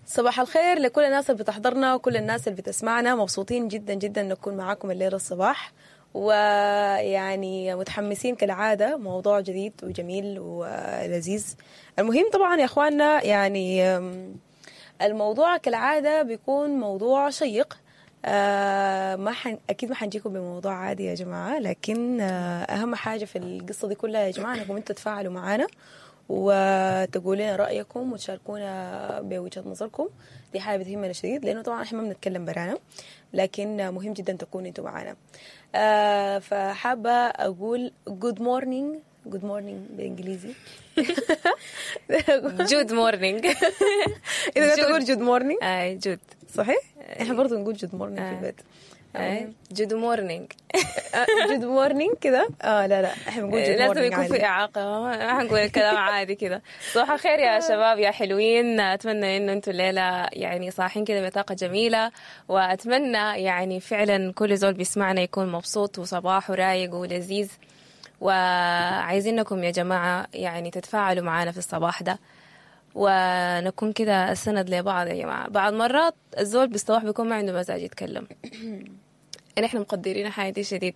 صباح الخير لكل الناس اللي بتحضرنا وكل الناس اللي بتسمعنا. مبسوطين جدا جدا نكون معاكم الليلة الصباح، ويعني متحمسين كالعادة، موضوع جديد وجميل ولذيذ. المهم طبعا يا اخواننا، يعني الموضوع كالعادة بيكون موضوع شيق. ما اكيد ما حنجيكم بموضوع عادي يا جماعة، لكن اهم حاجة في القصة دي كلها يا جماعة انكم انتوا تتفاعلوا معانا وتقولوا لنا رايكم وتشاركونا بوجهه نظركم. دي حاجة بتهمنا شديد، لانه طبعا احنا ما بنتكلم برانا، لكن مهم جدا تكونوا انتوا معانا. فحابه اقول good morning، good morning بالانجليزي. good morning. اذا تقول good morning. اي good. صحيح، احنا برضه نقول good morning في البيت. good morning. good morning كده. لا لا، احنا بنقول good morning. لازم يكون في اعاقه، ما حنقول الكلام عادي كده. صباح الخير يا شباب يا حلوين، اتمنى انه انتم الليلة يعني صاحين كده بطاقة جميلة، واتمنى يعني فعلا كل زول بيسمعنا يكون مبسوط وصباحه رايق ولذيذ. وعايزينكم يا جماعة يعني تتفاعلوا معانا في الصباح ده، ونكون كده السند لبعض يا جماعة. بعض مرات الزول بالصباح بيكون ما عنده مزاج يتكلم، نحن مقدرين حاجة شديد،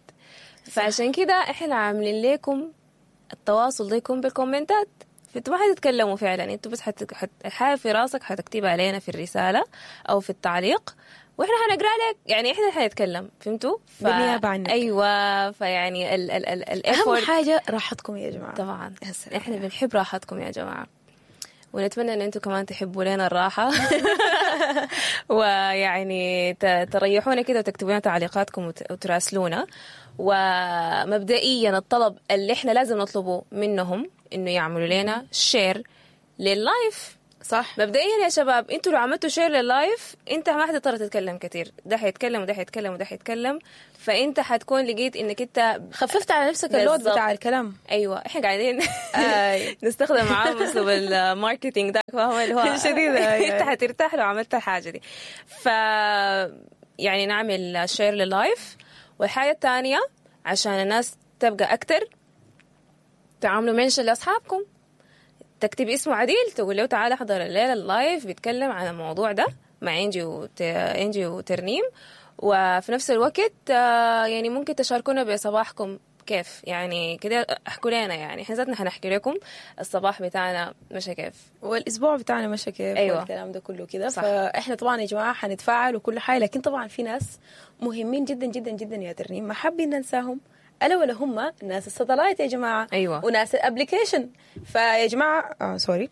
فعشان كده احنا عاملين لكم التواصل ده يكون بالكومنتات. فانتوا ما حتتكلموا فعلا، انتوا بس الحاجة في راسك حتكتبها علينا في الرسالة او في التعليق، واحنا حنقرا لك، يعني احنا حنتكلم، فهمتوا؟ بالنيابة عنك. ايوه، فيعني ال ال ال ال اهم حاجة راحتكم يا جماعة. طبعا احنا بنحب راحتكم يا جماعة، ونتمنى ان انتم كمان تحبوا لنا الراحة ويعني تريحونا كده وتكتبوا لنا تعليقاتكم وتراسلونا. ومبدئيا الطلب اللي احنا لازم نطلبه منهم انه يعملوا لنا share لل live. صح. مبدئيا يا شباب، انتوا لو عملتوا share لل live انت ما حتضطر تتكلم كتير، ده حيتكلم وده حيتكلم وده حيتكلم، فانت حتكون لقيت انك انت خففت على نفسك ال load بتاع الكلام. ايوه، احنا قاعدين نستخدم معاهم اسلوب ال marketing ده، فاهمه اللي هو شديد. انت حترتاح لو عملت الحاجة دي. ف يعني نعمل share لل live. والحاجة الثانية عشان الناس تبقى اكتر، تعملوا mention لاصحابكم، تكتب اسمه عديل، تقول له تعال احضر الليلة ال live بيتكلم عن الموضوع ده مع انجي وترنيم. وفي نفس الوقت يعني ممكن تشاركونا بصباحكم كيف، يعني كده احكوا لنا، يعني احنا ذاتنا حنحكي لكم الصباح بتاعنا مشى كيف والاسبوع بتاعنا مشى كيف. أيوة. والكلام ده كله كده. فاحنا طبعا يا جماعة حنتفاعل وكل حاجة، لكن طبعا في ناس مهمين جدا جدا جدا يا ترنيم ما حابين ننساهم، ألا ولا هم ناس ال satellite يا جماعة. أيوة. وناس ال application. فيا جماعة sorry.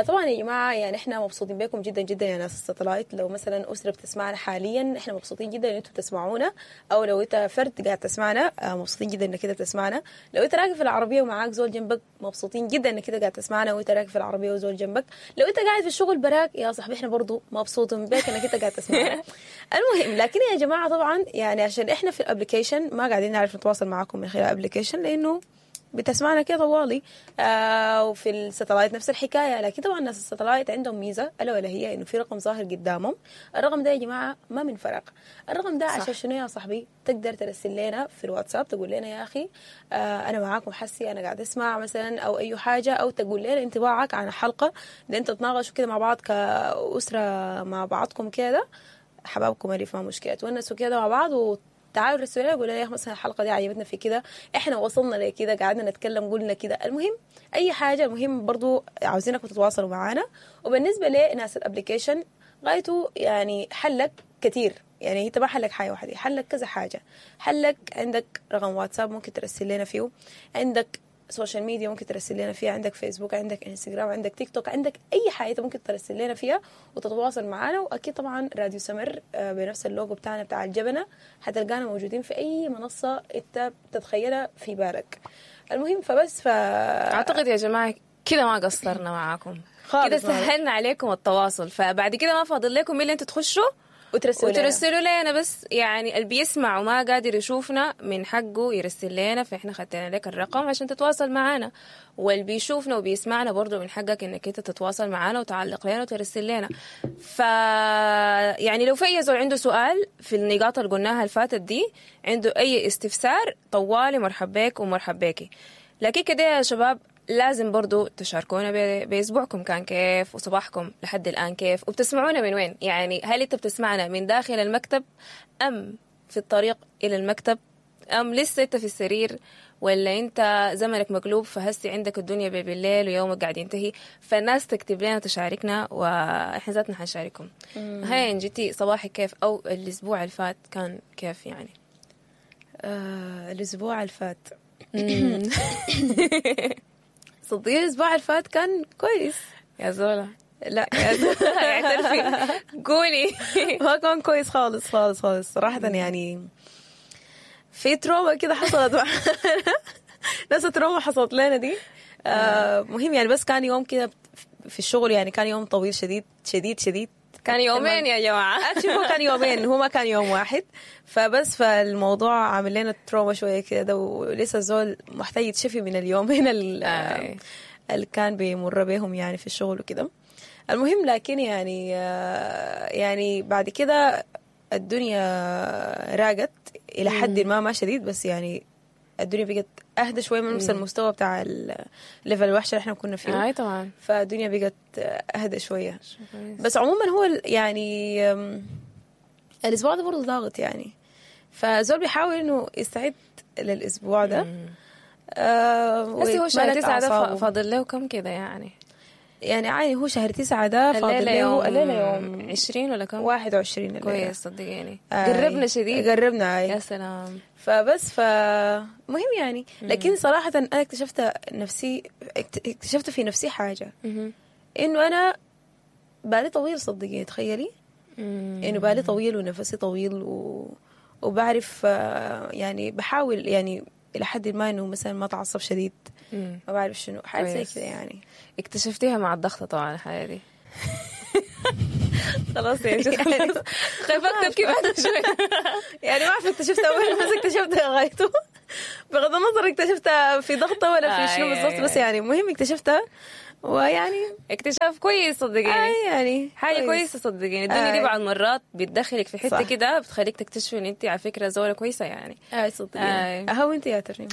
طبعا يا جماعة يعني احنا مبسوطين بكم جدا جدا يا ناس ال satellite. لو مثلا أسرة بتسمعنا حاليا احنا مبسوطين جدا ان انتم بتسمعونا، او لو انت فرد قاعد تسمعنا مبسوطين جدا انك كده بتسمعنا. لو انت راكب في العربية ومعاك زول جنبك مبسوطين جدا انك كده قاعد تسمعنا وانت راكب في العربية وزول جنبك. لو انت قاعد في الشغل براك يا صاحبي احنا برضو مبسوطين بك انك انت قاعد تسمعنا. المهم لكن يا جماعة طبعا يعني عشان احنا في ال application ما قاعدين نعرف نتواصل معاكم من خلال ال application لانه بتسمعنا كده طوالي، وفي ال satellite نفس الحكاية. لكن طبعا الناس ال satellite عندهم ميزة الا ولا هي انه في رقم ظاهر قدامهم. الرقم ده يا جماعة ما من فراغ، الرقم ده عشان شنو يا صاحبي؟ تقدر ترسل لنا في الواتساب تقول لنا يا اخي انا معاكم حسي، انا قاعد اسمع مثلا او اي حاجة، او تقول لنا انطباعك عن الحلقة ده، انت تتناقشوا كده مع بعض كاسره مع بعضكم كده، حبابكم اللي ما مشكلة، تونسوا كده مع بعض و تعالوا رسلوا لنا قولوا لنا يا اخي مثلا الحلقة دي عجبتنا في كده، احنا وصلنا لكده، قعدنا نتكلم قلنا كده. المهم اي حاجة، المهم برضو عاوزينكم تتواصلوا معانا. وبالنسبة لناس ال application غايته يعني حلك كثير، يعني انت ما حلك حاجة واحدة، حلك كذا حاجة. حلك عندك رقم واتساب ممكن ترسل لنا فيه، عندك social media ممكن ترسل لنا فيها، عندك فيسبوك، عندك انستغرام، عندك تيك توك، عندك اي حاجة ممكن ترسل لنا فيها وتتواصل معنا. واكيد طبعا راديو سمر بنفس اللوجو بتاعنا بتاع الجبنة حتلقانا موجودين في اي منصة انت بتتخيلها في بالك. المهم فبس اعتقد يا جماعة كده ما قصرنا معاكم كده، سهلنا عليكم التواصل. فبعد كده ما فاضل لكم الا انتوا تخشوا وترسلوا لنا بس. يعني اللي بيسمع وما قادر يشوفنا من حقه يرسل لنا، فإحنا خدنا لك الرقم عشان تتواصل معنا. واللي بيشوفنا وبيسمعنا برضو من حقك انك انت تتواصل معنا وتعلق لنا وترسل لنا. ف يعني لو في اي زول عنده سؤال في النقاط اللي قلناها الفاتت دي، عنده اي استفسار، طوالي مرحب بك ومرحب بيكي. لكن كده يا شباب لازم برضو تشاركونا بأسبوعكم كان كيف، وصباحكم لحد الآن كيف، وبتسمعونا من وين. يعني هل أنت بتسمعنا من داخل المكتب أم في الطريق إلى المكتب، أم لسه أنت في السرير، ولا أنت زمنك مقلوب فهسي عندك الدنيا بالليل ويومك قاعد ينتهي. فالناس تكتب لنا وتشاركنا، وإحنا ذاتنا حنشارككم. هاي انجتي صباحك كيف، أو الأسبوع اللي فات كان كيف يعني؟ الأسبوع اللي فات صدقيني الأسبوع اللي فات كان كويس يا زولا. لا يا زولا اعترفي قولي. ما كان كويس خالص خالص خالص صراحة. يعني في trauma كده حصلت معنا، نفس ال trauma حصلت لنا دي. مهم يعني، بس كان يوم كده في الشغل، يعني كان يوم طويل شديد شديد شديد. كان يومين يا جماعة. هو كان يومين، هو ما كان يوم واحد. فبس فالموضوع عامل لنا trauma شوية كده، ولسه الزول محتاج يتشفي من اليومين اللي كان بيمر بيهم يعني في الشغل وكده. المهم لكن يعني بعد كده الدنيا راقت إلى حد ما شديد، بس يعني الدنيا بقت أهدى شوية من نفس المستوى بتاع ال level الوحش اللي احنا كنا فيه. أي طبعا. فالدنيا بقت أهدى شوية. بس عموما هو يعني الأسبوع ده برضه ضاغط يعني، فزول بيحاول إنه يستعد للأسبوع ده. بس هو شهر 9 ده فاضل له كم كده يعني؟ يعني عادي هو شهر 9 ده فاضل له الليلة يوم 20 ولا كم؟ 21. كويس صدقيني قربنا شديد، قربنا. يا سلام. فبس فمهم يعني. لكن صراحة أنا اكتشفت نفسي، اكتشفت في نفسي حاجة، إنه أنا بالي طويل صدقيني. تخيلي إنه بالي طويل ونفسي طويل وبعرف يعني بحاول يعني إلى حد ما إنه مثلا ما تعصب شديد، ما بعرف شنو، حاجة زي كده يعني. اكتشفتيها مع الضغط طبعا الحاجة دي. خلاص يا جد خايفة تبكي بعد شوي. يعني ما أعرف اكتشفتها وين، بس اكتشفتها غايته بغض النظر اكتشفتها في ضغطة ولا في شنو بالضبط، بس يعني المهم اكتشفتها. ويعني اكتشاف كويس صدقيني. يعني حاجة كويسة صدقيني. الدنيا دي بعض المرات بتدخلك في حتة كده بتخليك تكتشفي ان انت على فكرة زولة كويسة يعني. صدقيني. اهو انت يا ترنيم.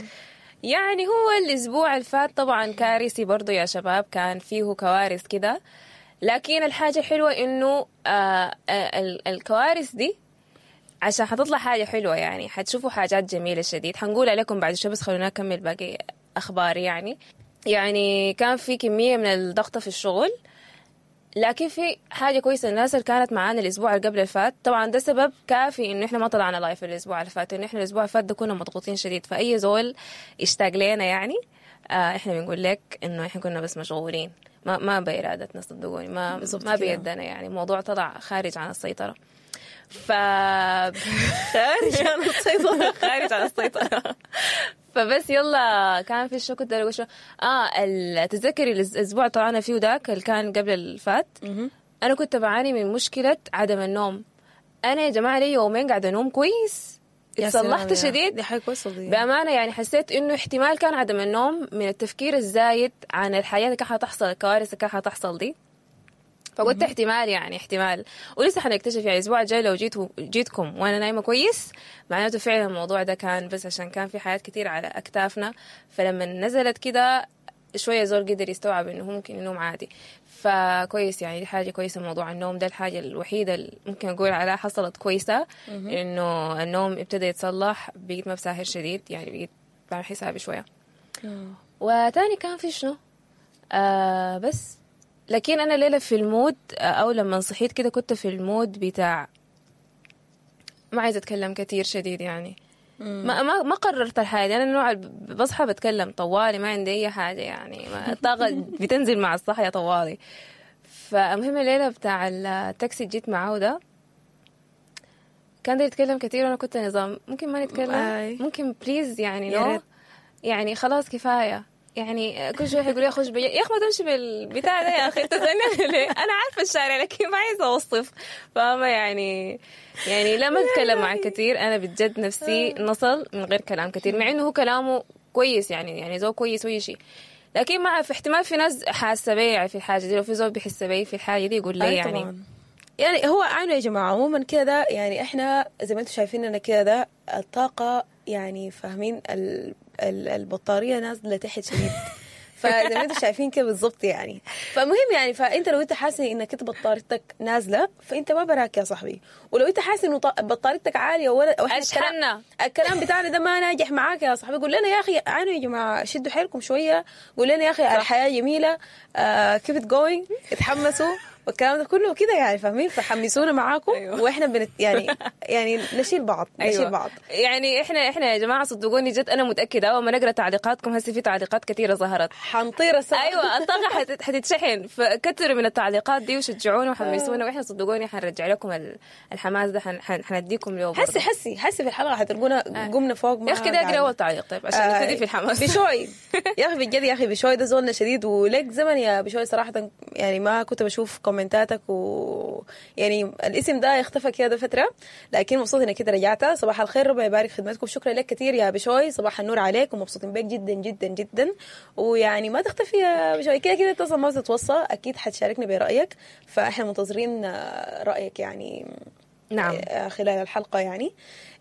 يعني هو الاسبوع اللي فات طبعا كارثي برضو يا شباب، كان فيه كوارث كده، لكن الحاجة الحلوة انه الكوارث دي عشان حتطلع حاجة حلوة يعني، حتشوفوا حاجات جميلة شديد حنقول عليكم بعد شوي، بس خلونا نكمل باقي اخبار. يعني كان في كمية من الضغط في الشغل، لكن في حاجة كويسة، الناس اللي كانت معانا الأسبوع اللي قبل الفات طبعا ده سبب كافي إنه إحنا ما طلعنا live الأسبوع اللي فات، إنه إحنا الأسبوع اللي فات ده كنا مضغوطين شديد. فأي زول اشتاق لنا يعني إحنا بنقول لك إنه إحنا كنا بس مشغولين، ما بإرادتنا صدقوني، ما بيدنا يعني، الموضوع طلع خارج عن السيطرة. ف خارج عن السيطرة خارج عن السيطرة. فبس يلا كان في شو كنت اقول شو تتذكري الاسبوع طلعنا فيه ذاك اللي كان قبل الفات، انا كنت بعاني من مشكلة عدم النوم. انا يا جماعة لي يومين قاعدة انوم كويس، اتصلحت شديد دي حاجة كويسة بامانه. يعني حسيت انه احتمال كان عدم النوم من التفكير الزايد عن الحياة اللي كان حتحصل، الكوارث اللي كان حتحصل دي. فقلت احتمال يعني احتمال، ولسه حنكتشف يعني الاسبوع الجاي لو جيتكم وانا نايمة كويس معناته فعلا الموضوع ده كان بس عشان كان في حاجات كتير على اكتافنا. فلما نزلت كده شوية زول قدر يستوعب انه ممكن ينوم عادي، فكويس يعني دي حاجة كويسة. موضوع النوم ده الحاجة الوحيدة اللي ممكن اقول عليها حصلت كويسة، انه النوم ابتدى يتصلح، بقيت ما بساهر شديد يعني، بقيت بعمل حسابي شوية. وتاني كان في شنو بس لكن أنا ليلة في ال mood، أو لما صحيت كده كنت في ال mood بتاع ما عايزة أتكلم كتير شديد يعني. ما قررت الحاجة. أنا النوع بصحى بتكلم طوالي، ما عندي أي حاجة يعني، الطاقة بتنزل مع الصحية طوالي. فالمهم الليلة بتاع التاكسي جيت معه ده كان ده يتكلم كتير، وأنا كنت نظام ممكن ما نتكلم، ممكن please يعني no يعني خلاص كفاية يعني. كل شوي يقول لي اخش يا اخي ما تمشي بالبتاع ده يا اخي انت تسالني ليه؟ انا عارفه الشارع لكن ما عايزه اوصف، فاهمه يعني. يعني لما اتكلم معه كثير انا بجد نفسي نصل من غير كلام كثير، مع انه هو كلامه كويس يعني زو كويس وأي شيء، لكن ما في احتمال في ناس حاسه بي في الحاجة دي، لو في زول بيحس بي في الحاجة دي يقول لي يعني طبعاً. يعني هو عنه يا جماعة عموما كده يعني احنا زي ما انتم شايفين كده ده الطاقة يعني فاهمين البطارية نازله تحت شديد. فزي ما انتم شايفين كده بالظبط يعني. فالمهم يعني فانت لو انت حاسس انك انت بطاريتك نازله فانت ما براك يا صاحبي، ولو انت حاسس انه بطاريتك عالية ولا واحنا اشحننا. الكلام بتاعنا ده ما ناجح معاك يا صاحبي، قول لنا يا اخي عانوا يا جماعة، شدوا حيلكم شوية، قول لنا يا اخي الحياة جميلة، keep it going، اتحمسوا والكلام ده كله كده يعني، فاهمين؟ فحمسونا معاكم. أيوة. واحنا يعني نشيل بعض، نشيل بعض. يعني احنا يا جماعة صدقوني جد انا متاكدة اول ما نقرا تعليقاتكم هسه في تعليقات كثيرة ظهرت، حنطير السما. ايوه الطاقة حتتشحن، فكتروا من التعليقات دي وشجعونا وحمسونا، واحنا صدقوني حنرجع لكم الحماس ده، حنديكم له برضه. حسي حسي حسي في الحلقة حتلقونا قمنا فوق ما يا اخي كده اقرا قعدنا. اول تعليق طيب عشان نبتدي في الحماس. بشوي يا اخي بجد يا اخي بشوي ده زولنا شديد، ولك زمن يا بشوي صراحة يعني ما كنت بشوف كومنتاتك و يعني الاسم ده اختفى كده فترة، لكن مبسوط انك كده رجعت. صباح الخير، ربنا يبارك خدمتكم، شكرا لك كثير يا بشوي، صباح النور عليك ومبسوطين بك جدا جدا جدا. ويعني ما تختفي يا بشوي، كده كده انت اصلا ما بتتوصى، اكيد حتشاركنا برايك، فاحنا منتظرين رايك يعني. نعم. خلال الحلقة يعني.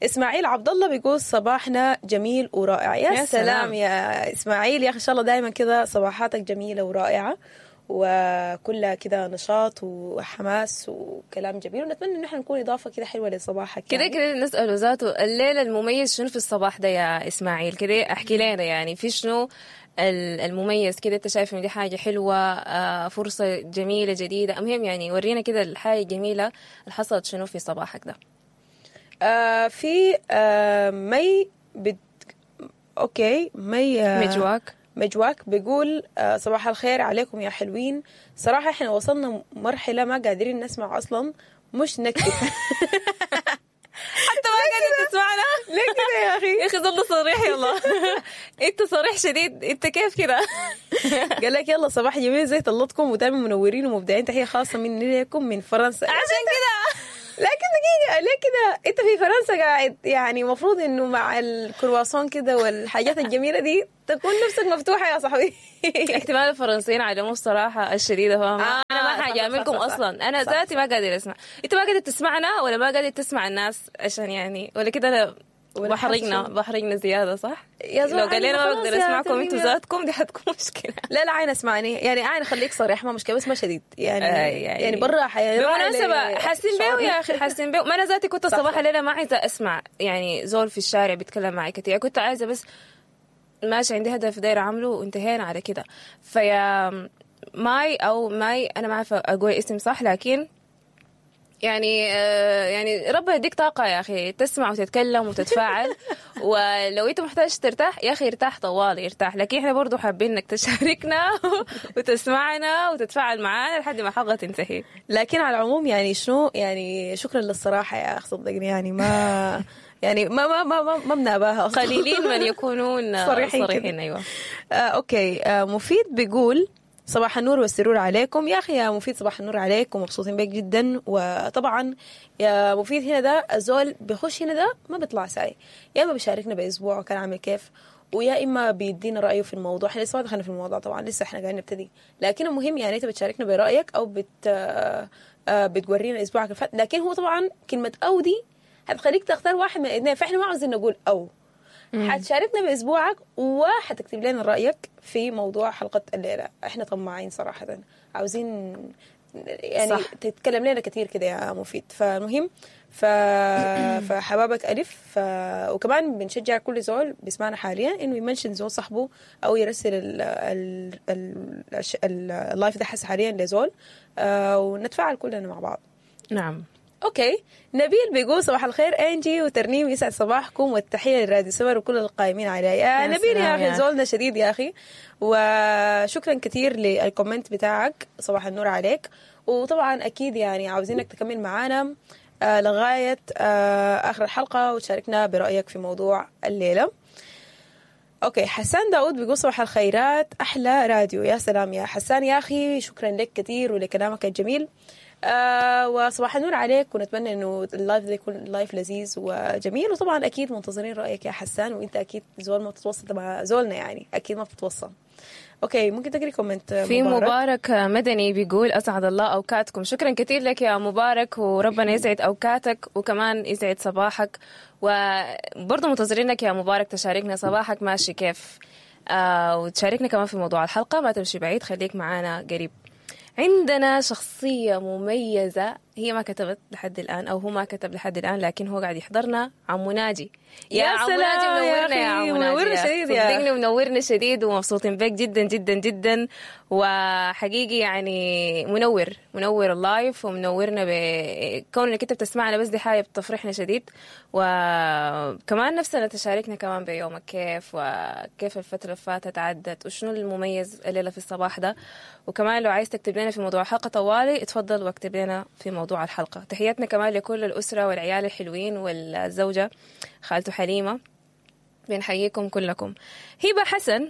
إسماعيل عبد الله بيقول صباحنا جميل ورائع. يا يا سلام سلام. يا إسماعيل يا أخي، إن شاء الله دائما كده صباحاتك جميلة ورائعة وكلها كده نشاط وحماس وكلام جميل، ونتمنى إن احنا نكون إضافة كده حلوة لصباحك كده يعني. كده نسأله ذاته الليلة المميز شنو في الصباح ده يا إسماعيل؟ كده احكي لنا يعني في شنو المميز كده، انت شايف ان دي حاجة حلوة، فرصة جميلة جديدة، المهم يعني ورينا كده الحاجة الجميلة اللي حصلت شنو في صباحك ده. في مي okay مي مجواك مجواك بيقول صباح الخير عليكم يا حلوين، صراحة احنا وصلنا مرحلة ما قادرين نسمع أصلا، مش نكتب. حتى ما قادر تسمعنا ليه كده يا أخي؟ يا أخي ظل صريح، يلا انت صريح شديد، انت كيف كده؟ قال لك يلا صباح جميل زي طلتكم ودائما منورين ومبدعين، تحية خاصة مني لكم من فرنسا. عشان كده لكن دقيقة، ليه كده؟ انت في فرنسا قاعد يعني المفروض انه مع الكرواسون كده والحاجات الجميلة دي تكون نفسك مفتوحة يا صاحبي. احتمال الفرنسيين علموا الصراحة الشديدة، فاهمة؟ أنا ما صح، حاجة صح، صح، صح. أصلا أنا صح، ذاتي ما قادر أسمع. أنت ما قادر تسمعنا ولا ما قادر تسمع الناس عشان يعني ولا كده أنا ولا بحرجنا حاسة. بحرجنا زيادة صح؟ يا زول لو قال لنا ما خلاص بقدر يا أسمعكم ترنيم أنتوا يا- ذاتكم دي حتكون مشكلة. لا لا عين اسمعني يعني، عين خليك صريح ما مشكلة بس ما شديد يعني. يعني يعني برا حياة بالمناسبة حاسين بيه يا أخي، حاسين بيه. ما أنا ذاتي كنت صح، الصباح صح. الليلة ما عايزة أسمع يعني زول في الشارع بيتكلم معي كثير، كنت عايزة بس ماشي عندي هدف دايرة أعمله وانتهينا على كده. فيا ماي أو ماي، أنا ما عارفة أقول اسم صح، لكن يعني يعني ربنا يديك طاقة يا أخي تسمع وتتكلم وتتفاعل، ولو أنت محتاج ترتاح يا أخي ارتاح طوالي ارتاح، لكن إحنا برضو حابين إنك تشاركنا وتسمعنا وتتفاعل معانا لحد ما الحلقة تنتهي. لكن على العموم يعني شنو يعني، شكرا للصراحة يا أخ، صدقني يعني ما يعني ما ما ما ما, ما بناباها أصلاً. قليلين من يكونون صريحين كده. صريحين. أيوة. Okay. مفيد بيقول صباح النور والسرور عليكم. يا أخي يا مفيد صباح النور عليك ومبسوطين بك جدا. وطبعا يا مفيد هنا ده الزول بيخش هنا ده ما بيطلع ساي، يا إما بيشاركنا بأسبوع كان عامل كيف، ويا إما بيدينا رأيه في الموضوع. احنا لسه ما دخلنا في الموضوع طبعا، لسه احنا قاعدين نبتدي، لكن المهم يعني انت بتشاركنا برأيك أو بت آه، آه، بتورينا أسبوعك اللي فات. لكن هو طبعا كلمة أو دي هتخليك تختار واحد من الاثنين، فاحنا ما عاوزين نقول أو. حتشاركنا باسبوعك وحتكتب لنا رايك في موضوع حلقة الليلة. احنا طماعين صراحة، عاوزين يعني صح. تتكلم لنا كثير كده يا مفيد. فالمهم فحبابك الف وكمان بنشجع كل زول بيسمعنا حاليا انه ي mention زول صاحبه او يرسل ال live ده حس حاليا لزول، ونتفاعل كلنا مع بعض. نعم. Okay. نبيل بيقول صباح الخير انجي وترنيم، يسعد صباحكم والتحيه لراديو سمر وكل القائمين عليه. يا يا نبيل يا سلام اخي يا زولنا شديد يا اخي، وشكرا كثير لل comment بتاعك، صباح النور عليك. وطبعا اكيد يعني عاوزينك تكمل معانا لغاية اخر الحلقة وتشاركنا برايك في موضوع الليلة. Okay. حسان داود بيقول صباح الخيرات، احلى راديو. يا سلام يا حسان يا اخي، شكرا لك كثير ولكلامك الجميل. وصباح النور عليك، ونتمنى انه ال live ده يكون live لذيذ وجميل. وطبعا اكيد منتظرين رايك يا حسان، وانت اكيد زول ما بتتوصل مع زولنا يعني، اكيد ما بتتوصل. Okay ممكن تقري comment في مبارك مدني بيقول اسعد الله اوقاتكم. شكرا كثير لك يا مبارك، وربنا يسعد اوقاتك وكمان يسعد صباحك. وبرضه منتظرينك يا مبارك تشاركنا صباحك ماشي كيف. وتشاركنا كمان في موضوع الحلقة. ما تمشي بعيد، خليك معانا قريب. عندنا شخصية مميزة، هي ما كتبت لحد الآن أو هو ما كتب لحد الآن، لكن هو قاعد يحضرنا، عمو ناجي. يا عمو ناجي منورنا يا عمو ناجي، منورنا شديد يا صدقني منورنا شديد، ومبسوطين بك جدا جدا جدا، وحقيقي يعني منور منور ال live ومنورنا بكونك انت بتسمعنا، بس دي حاجة بتفرحنا شديد. وكمان نفسنا تشاركنا كمان بيومك كيف، وكيف الفترة اللي فاتت عدت، وشنو المميز الليلة في الصباح ده. وكمان لو عايز تكتب لنا في موضوع الحلقة طوالي اتفضل واكتب لنا في موضوع الحلقة. تحياتنا كمان لكل الأسرة والعيال الحلوين والزوجة خالته حليمة، بنحييكم كلكم. هبة حسن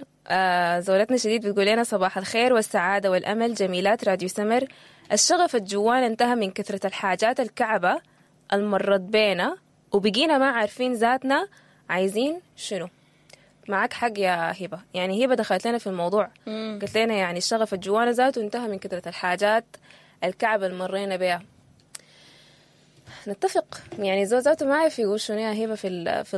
زولتنا شديد بتقول لنا صباح الخير والسعادة والأمل، جميلات راديو سمر. الشغف الجوان انتهى من كثرة الحاجات الكعبة المرت بينا، وبقينا ما عارفين ذاتنا عايزين شنو. معك حق يا هبة، يعني هبة دخلت لنا في الموضوع، قلت لنا يعني الشغف الجوان ذاته انتهى من كثرة الحاجات الكعبة اللي مرينا بها. نتفق يعني زول ذاته ما عارف يقول شنو يا هبة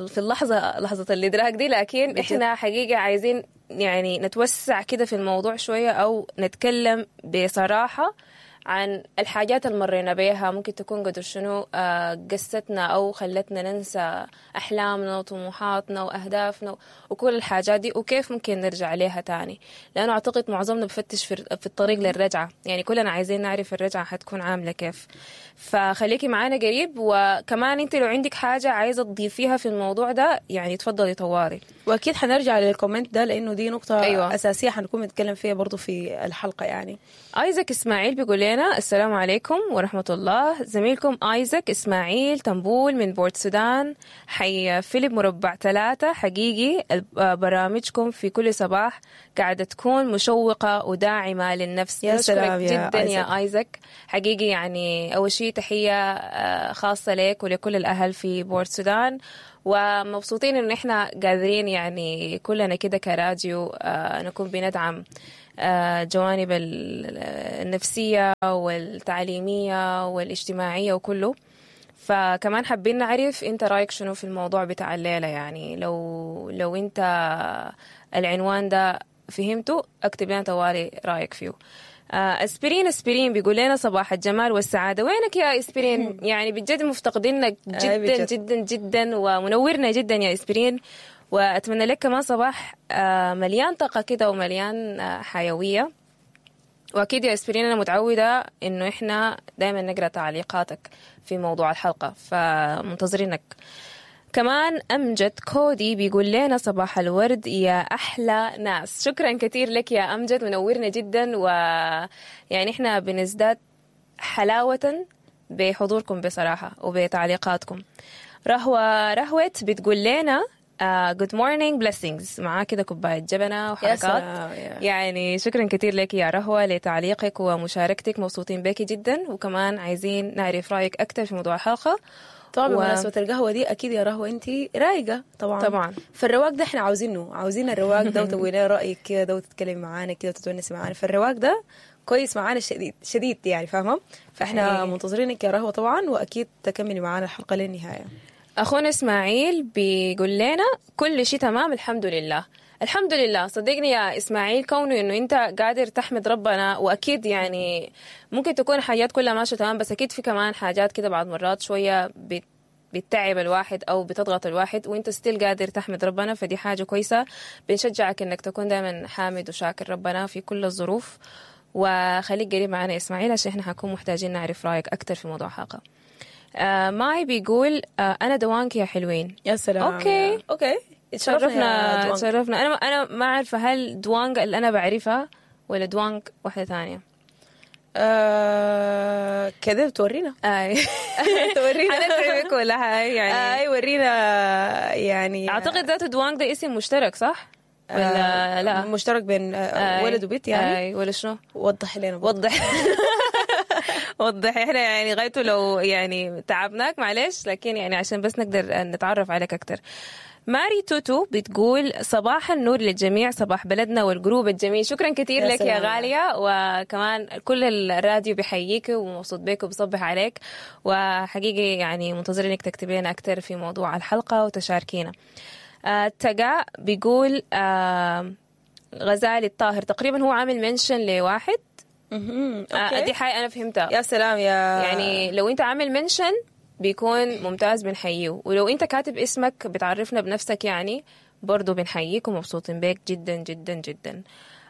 في اللحظة، لحظة الإدراك دي، لكن احنا حقيقة عايزين يعني نتوسع كده في الموضوع شوية، أو نتكلم بصراحة عن الحاجات اللي مرينا بيها، ممكن تكون قدر شنو قستنا أو خلتنا ننسى أحلامنا وطموحاتنا وأهدافنا وكل الحاجات دي، وكيف ممكن نرجع ليها تاني، لأنه أعتقد معظمنا بفتش في الطريق للرجعة، يعني كلنا عايزين نعرف الرجعة حتكون عاملة كيف. فخليكي معانا قريب، وكمان انت لو عندك حاجة عايزة تضيفيها في الموضوع ده يعني تفضلي طوالي. وأكيد حنرجع لل comment ده لأنه دي نقطة أيوة. أساسية حنكون نتكلم فيها برضو في الحلقة. يعني آيزك إسماعيل بيقول لنا السلام عليكم ورحمة الله، زميلكم آيزك إسماعيل تنبول من بورت سودان، حي فيليب مربع 3. حقيقي برامجكم في كل صباح قاعدة تكون مشوقة وداعمة للنفس. يا سلام يا جدا يا آيزك، حقيقي يعني أول شيء تحية خاصة لك ولكل الأهل في بورت سودان، ومبسوطين إن إحنا قادرين يعني كلنا كده كراديو نكون بندعم جوانب النفسية والتعليمية والاجتماعية وكله. فكمان حابين نعرف انت رايك شنو في الموضوع بتاع الليلة، يعني لو انت العنوان ده فهمته اكتب لنا طوالي رايك فيه. اسبرين بيقول لنا صباح الجمال والسعادة. وينك يا اسبرين؟ يعني بجد مفتقدينك جدا جدا جدا، ومنورنا جدا يا اسبرين، وأتمنى لك كمان صباح مليان طاقة كده ومليان حيوية. وأكيد يا إسبرين أنا متعودة إنه إحنا دايما نقرأ تعليقاتك في موضوع الحلقة، فمنتظرينك. كمان أمجد كودي بيقول لنا صباح الورد يا أحلى ناس. شكرا كثير لك يا أمجد، منورنا جدا، ويعني إحنا بنزداد حلاوة بحضوركم بصراحة وبتعليقاتكم. رهوة بتقول لنا good morning blessings، معاه كده كوباية جبنة وحركات. يعني شكرا كثير لك يا رهوة لتعليقك ومشاركتك، مبسوطين بك جدا، وكمان عايزين نعرف رأيك أكثر في موضوع الحلقة. طبعا بمناسبة القهوة دي أكيد يا رهوة أنت رايقة طبعا، فالرواق ده احنا عاوزينه، عاوزين الرواق ده، وتقولي لنا رأيك كده وتتكلمي معانا كده وتتونسي معانا، فالرواق ده كويس معانا شديد شديد يعني، فاهمة؟ فاحنا منتظرينك يا رهوة طبعا، وأكيد تكملي معانا الحلقة للنهاية. أخونا إسماعيل بيقول لنا كل شيء تمام الحمد لله. الحمد لله، صدقني يا إسماعيل كونه إنه أنت قادر تحمد ربنا، وأكيد يعني ممكن تكون حاجات كلها ماشية تمام، بس أكيد في كمان حاجات كده بعض مرات شوية بتتعب الواحد أو بتضغط الواحد، وأنت ستيل قادر تحمد ربنا، فدي حاجة كويسة. بنشجعك إنك تكون دائما حامد وشاكر ربنا في كل الظروف، وخليك قريب معنا يا إسماعيل عشان إحنا حنكون محتاجين نعرف رأيك أكتر في موضوع حلقة. ماي بيقول أنا دوانك يا حلوين. يا سلام. okay okay، تشرفنا. أنا ما عارفة هل دوانك اللي أنا بعرفها ولا دوانك واحدة ثانية. كده بتورينا. تورينا حنتعبك ولا هاي يعني. اي ورينا يعني. أعتقد ذاته دوانك ده اسم مشترك صح؟ ولا لا؟ مشترك بين ولد وبنت يعني. ولا شنو؟ وضح لنا. وضح وضح. احنا يعني غايته لو يعني تعبناك معلش، لكن يعني عشان بس نقدر نتعرف عليك اكتر. ماري توتو بتقول صباح النور للجميع، صباح بلدنا وال group الجميل. شكرا كثير لك يا غالية، وكمان كل الراديو بيحييك ومبسوط بك وبصبح عليك، وحقيقي يعني منتظرين انك تكتبي لنا اكثر في موضوع الحلقة وتشاركينا. تقا بيقول غزالي الطاهر تقريبا هو عامل mention لواحد. Okay. دي حاجة انا فهمتها. يا سلام يا يعني لو انت عامل mention بيكون ممتاز، بنحييه. ولو انت كاتب اسمك بتعرفنا بنفسك يعني برضو بنحييك ومبسوطين بيك جدا جدا جدا.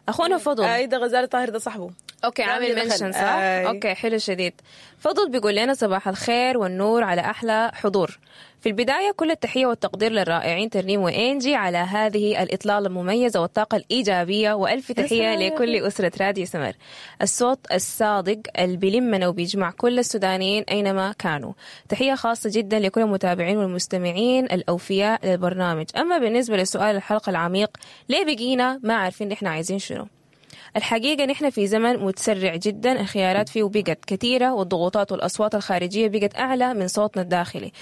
اخونا فضل. اي ده غزالي طاهر ده صاحبه. okay عامل mention صح؟ آي. okay حلو شديد. فضل بيقول لنا صباح الخير والنور على احلى حضور. في البداية كل التحية والتقدير للرائعين ترنيم وانجي على هذه الاطلاله المميزة والطاقة الايجابية، والف تحية لكل اسره راديو سمر. الصوت الصادق اللي بيلمنا وبيجمع كل السودانيين اينما كانوا. تحية خاصة جدا لكل المتابعين والمستمعين الاوفياء للبرنامج. اما بالنسبة لسؤال الحلقة العميق، ليه بقينا ما عارفين نحن عايزين شنو؟ الحقيقة نحن في زمن متسرع جدا، الخيارات فيه بقت كثيرة، والضغوطات والأصوات الخارجية بقت أعلى من صوتنا الداخلي.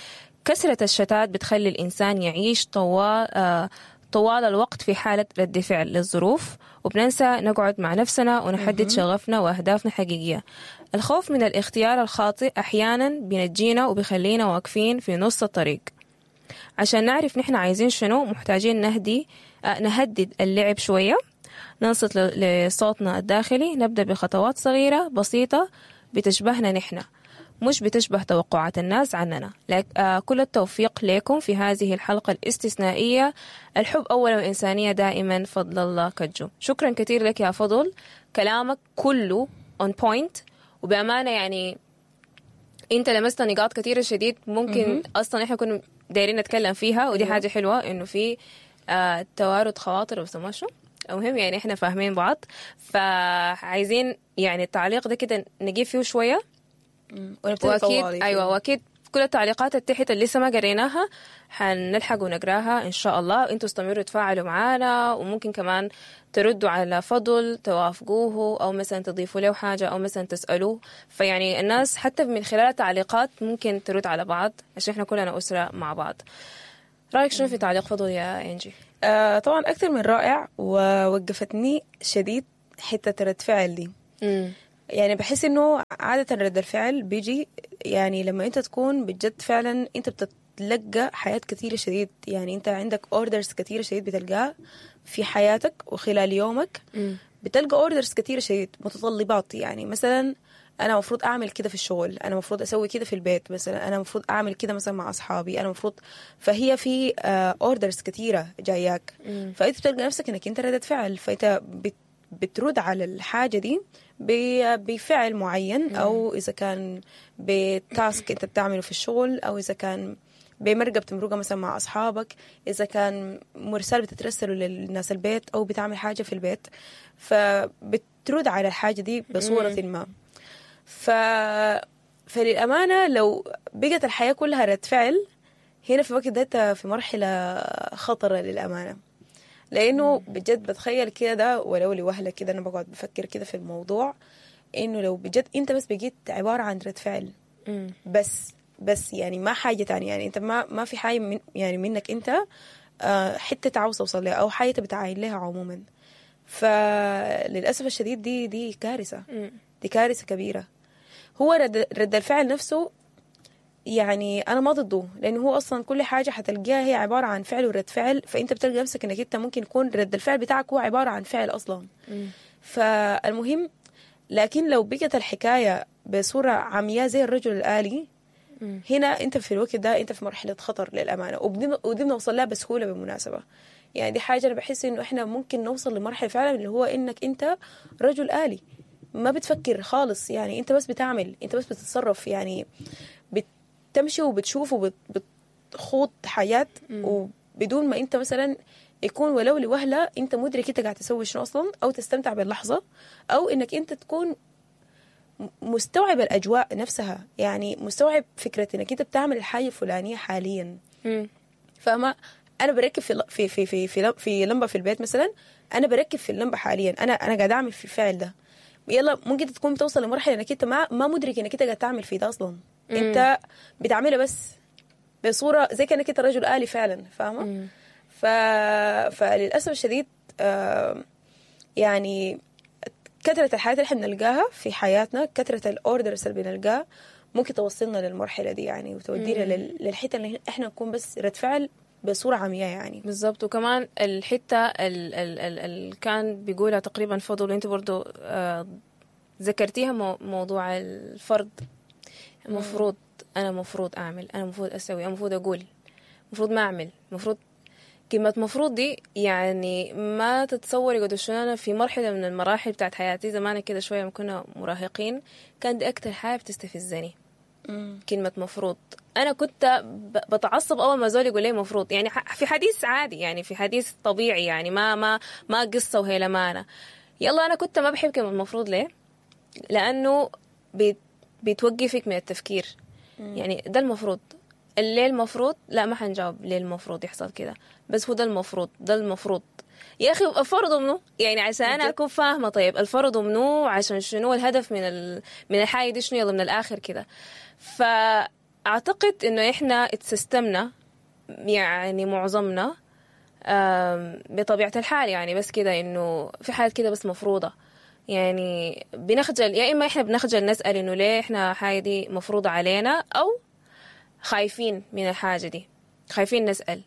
كثرة الشتات بتخلي الإنسان يعيش طوال الوقت في حالة رد فعل للظروف، وبننسى نقعد مع نفسنا ونحدد شغفنا وأهدافنا الحقيقية. الخوف من الاختيار الخاطئ أحيانا بينجينا وبيخلينا واقفين في نص الطريق. عشان نعرف نحن عايزين شنو محتاجين نهدد اللعب شوية، ننصت لصوتنا الداخلي، نبدأ بخطوات صغيرة بسيطة بتشبهنا نحن، مش بتشبه توقعات الناس عننا. كل التوفيق لكم في هذه الحلقة الاستثنائية. الحب أولا والإنسانية دائما. فضل الله كجو. شكرا كثير لك يا فضل، كلامك كله on point، وبأمانة يعني انت لمست نقاط كثيرة شديد ممكن اصلا احنا كنا دايرين نتكلم فيها، ودي حاجة حلوة انه في توارد خواطر وسموه شو. المهم يعني احنا فاهمين بعض، فعايزين يعني التعليق ده كده نجيب فيه شوية، واكيد ايوه واكيد كل التعليقات التحت اللي لسه ما قريناها حنلحق ونقراها ان شاء الله. انتوا استمروا تفاعلوا معانا، وممكن كمان تردوا على فضل توافقوه، او مثلا تضيفوا له حاجة، او مثلا تسالوه. فيعني الناس حتى من خلال التعليقات ممكن ترد على بعض، عشان احنا كلنا اسره مع بعض. رايك شنو في تعليق فضل يا انجي؟ طبعا اكثر من رائع، ووقفتني شديد حتة رد فعل دي. يعني بحس انه عادة رد الفعل بيجي يعني لما انت تكون بجد فعلا انت بتتلقى حياة كثيرة شديد، يعني انت عندك orders كثيرة شديد بتلقاها في حياتك وخلال يومك. بتلقى orders كثيرة شديد، متطلبات. يعني مثلا انا مفروض اعمل كده في الشغل، انا مفروض اسوي كده في البيت مثلا، انا مفروض اعمل كده مثلا مع اصحابي، انا مفروض. فهي في orders كثيرة جاياك، فانت بتلقى نفسك انك انت ردة فعل، فانت بترد على الحاجة دي بفعل معين، او اذا كان ب task انت بتعمله في الشغل، او اذا كان بمرقه بتمرقها مثلا مع اصحابك، اذا كان مرسال بتترسله للناس البيت، او بتعمل حاجة في البيت، فبترد على الحاجة دي بصورة ما. فللأمانة لو بقت الحياة كلها رد فعل، هنا في الوقت ده في مرحلة خطرة للأمانة، لأنه بجد بتخيل كده ده ولو لوهلة كده أنا بقعد بفكر كده في الموضوع، إنه لو بجد أنت بس بقيت عبارة عن رد فعل بس يعني ما حاجة تانية، يعني أنت ما في حاجة من يعني منك أنت حتة عاوز توصل لها أو حاجة بتعاين لها عموما. فللأسف الشديد دي كارثة، دي كارثة كبيرة. هو رد الفعل نفسه يعني أنا ما ضده، لأنه هو أصلا كل حاجة حتلقاها هي عبارة عن فعل ورد فعل، فأنت بتلقى نفسك إنك أنت ممكن يكون رد الفعل بتاعك هو عبارة عن فعل أصلا. فالمهم لكن لو بقت الحكاية بصورة عمياء زي الرجل الآلي، هنا أنت في الوقت ده أنت في مرحلة خطر للأمانة، ودي بنوصل لها بسهولة بالمناسبة. يعني دي حاجة أنا بحس إنه إحنا ممكن نوصل لمرحلة فعلا اللي هو إنك أنت رجل آلي، ما بتفكر خالص، يعني أنت بس بتعمل، أنت بس بتتصرف، يعني بتمشي وبتشوف وبتخوض حياة، وبدون ما أنت مثلا يكون ولو لوهلة أنت مدرك أنت قاعد تسوي شنو أصلا، أو تستمتع باللحظة، أو إنك أنت تكون مستوعب الأجواء نفسها، يعني مستوعب فكرة إنك أنت بتعمل الحاجة الفلانية حاليا. فما أنا بركب في في في في في, في لمبة في البيت مثلا، أنا بركب في اللمبة حاليا، أنا قاعد أعمل في الفعل ده. يلا ممكن تكون بتوصل لمرحلة إنك أنت ما مدرك إنك أنت قاعد تعمل في ده أصلا. أنت بتعملها بس بصورة زي كأنك أنت رجل آلي فعلا، فاهمة؟ فللأسف الشديد يعني كثرة الحاجات اللي احنا بنلقاها في حياتنا، كثرة الأوردرز اللي بنلقاها ممكن توصلنا للمرحلة دي يعني، وتودينا للحتة اللي احنا نكون بس رد فعل بصورة عمياء يعني. بالضبط. وكمان الحتة اللي كان بيقولها تقريبا فضل، وانت برضو ذكرتيها، موضوع الفرض. المفروض، انا مفروض اعمل، انا مفروض اسوي، انا مفروض اقول، مفروض ما اعمل، مفروض. كلمة مفروض دي يعني ما تتصوري قد شنو. أنا في مرحلة من المراحل بتاعت حياتي زمان كده شوية لما كنا مراهقين، كان دي أكتر حاجة بتستفزني، كلمة مفروض. أنا كنت بتعصب أول ما زول يقول لي مفروض، يعني في حديث عادي، يعني في حديث طبيعي، يعني ما قصة وهي لمانة يلا. أنا كنت ما بحب كلمة مفروض. ليه؟ لأنه بتوقفك من التفكير. يعني ده المفروض. ليه المفروض؟ لا ما حنجاوب ليه المفروض يحصل كده، بس هو ده المفروض، ده المفروض. يا اخي الفرض منو؟ يعني عشان انا اكون فاهمه، طيب الفرض منو؟ عشان شنو؟ الهدف من الحاجة دي شنو؟ يلا من الاخر كده. فاعتقد انه احنا اتسيستمنا يعني معظمنا بطبيعة الحال، يعني بس كده انه في حاجات كده بس مفروضة، يعني بنخجل، يا اما احنا بنخجل نسال انه ليه احنا حاجة دي مفروضة علينا، او خايفين من الحاجة دي، خايفين نسال،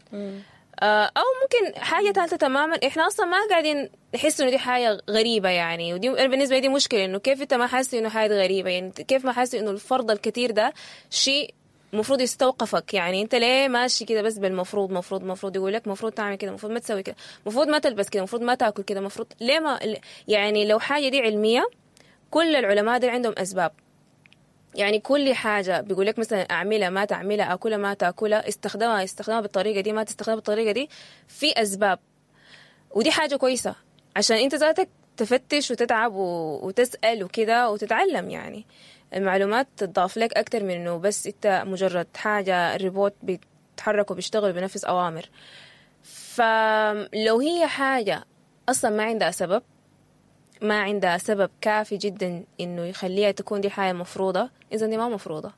او ممكن حاجة ثالثة تماما، احنا اصلا ما قاعدين نحس انه دي حاجة غريبة يعني. ودي انا بالنسبة لي دي مشكله، انه كيف انت ما حاسس انه حاجة غريبة؟ يعني كيف ما حاسس انه الفرض الكثير ده شيء المفروض يستوقفك؟ يعني انت ليه ماشي كده بس بالمفروض؟ مفروض، مفروض، يقول لك مفروض تعمل كده، مفروض ما تسوي كده، مفروض ما تلبس كده، مفروض ما تاكل كده، مفروض. ليه ما يعني لو حاجة دي علمية، كل العلماء دي عندهم اسباب. يعني كل حاجة بيقول لك مثلا أعملها، ما تعملها، أكلها، ما تاكلها، استخدمها بالطريقة دي، ما تستخدمها بالطريقة دي، في أسباب. ودي حاجة كويسة عشان أنت ذاتك تفتش وتتعب وتسأل وكده وتتعلم، يعني المعلومات تضاف لك أكتر من إنه بس أنت مجرد حاجة ريبوت بيتحرك وبيشتغل وبينفذ أوامر. فلو هي حاجة أصلا ما عندها سبب، ما عندها سبب كافي جدا انه يخليها تكون دي حاجة مفروضة، اذا دي ما مفروضة،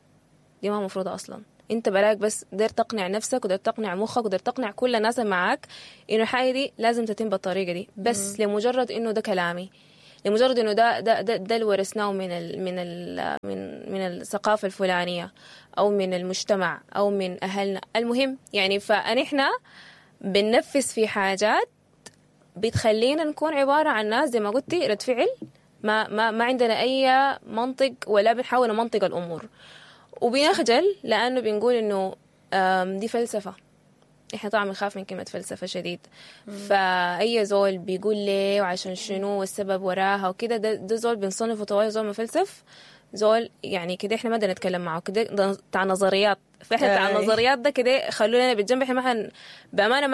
دي ما مفروضة اصلا. انت براك بس داير تقنع نفسك وداير تقنع مخك وداير تقنع كل الناس اللي معاك انه الحاجة دي لازم تتم بالطريقة دي، بس لمجرد انه ده كلامي، لمجرد انه ده اللي ورثناه من ال من ال من من الثقافة الفلانية او من المجتمع او من اهلنا. المهم يعني فنحن بننفذ في حاجات بتخلينا نكون عبارة عن ناس زي ما قلتي رد فعل، ما عندنا أي منطق ولا بنحاول نمنطق الأمور، وبنخجل لأنه بنقول إنه دي فلسفة. إحنا طبعا بنخاف من كلمة فلسفة شديد. فأي زول بيقول ليه وعشان شنو والسبب وراها وكده، ده زول بنصنفه طوالي زول مفلسف، زول يعني كده إحنا ما بدنا نتكلم معه كده، ده بتاع نظريات. فإحنا بتاع النظريات ده كده خلونا بالجنب، إحنا ما بأمانة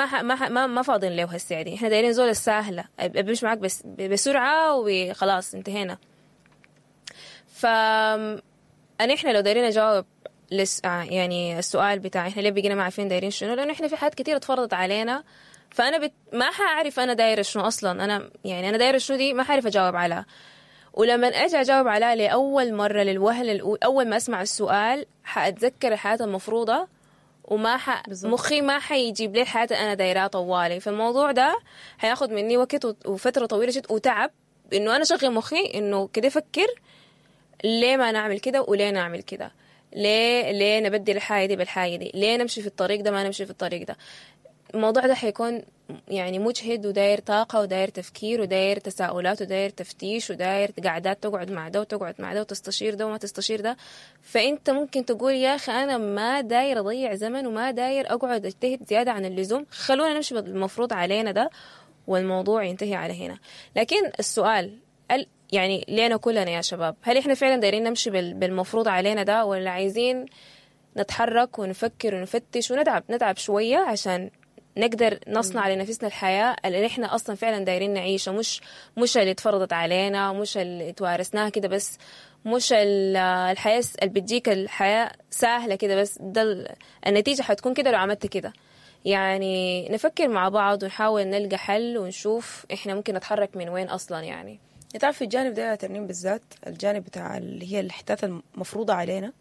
ما فاضين له هالساعة دي. إحنا دايرين زول السهلة بمشي معاك بس بسرعة وخلاص انتهينا. فأنا إحنا لو دايرين نجاوب يعني السؤال بتاع إحنا ليه بقينا ما عارفين دايرين شنو، لأنه إحنا في حاجات كتير اتفرضت علينا. فأنا ما حأعرف أنا دايرة شنو أصلا، أنا يعني أنا دايرة شنو دي ما حأعرف أجاوب عليها. ولما أجي أجاوب عليها لأول مرة للوهلة الأولى، أول ما أسمع السؤال حأتذكر الحياة المفروضة، وما مخي ما حيجيب لي الحياة أنا دايرها طوالي. فالموضوع ده حياخد مني وقت وفترة طويلة جدا وتعب، إنه أنا شغل مخي إنه كده فكر ليه ما نعمل كده وليه نعمل كده، ليه نبدل الحاجة دي بالحاجة دي، ليه نمشي في الطريق ده ما نمشي في الطريق ده. الموضوع ده حيكون يعني مجهد وداير طاقة وداير تفكير وداير تساؤلات وداير تفتيش وداير قعدات تقعد مع ده وتقعد مع ده وتستشير ده وما تستشير ده. فأنت ممكن تقول يا أخي أنا ما داير أضيع زمن وما داير أقعد أجتهد زيادة عن اللزوم، خلونا نمشي بالمفروض علينا ده والموضوع ينتهي على هنا. لكن السؤال يعني لينا كلنا يا شباب، هل إحنا فعلا دايرين نمشي بالمفروض علينا ده، ولا عايزين نتحرك ونفكر ونفتش ونتعب نتعب شوية عشان نقدر نصنع لنفسنا الحياة اللي احنا أصلا فعلا دايرين نعيشها، مش اللي اتفرضت علينا، مش اللي توارثناها كده بس، مش الحياة اللي بتجيك الحياة سهلة كده بس، ده النتيجة حتكون كده لو عملت كده. يعني نفكر مع بعض ونحاول نلقى حل ونشوف احنا ممكن نتحرك من وين أصلا. يعني تعرف في الجانب ده يا ترنيم بالذات، الجانب بتاع اللي هي الحتات المفروضة علينا،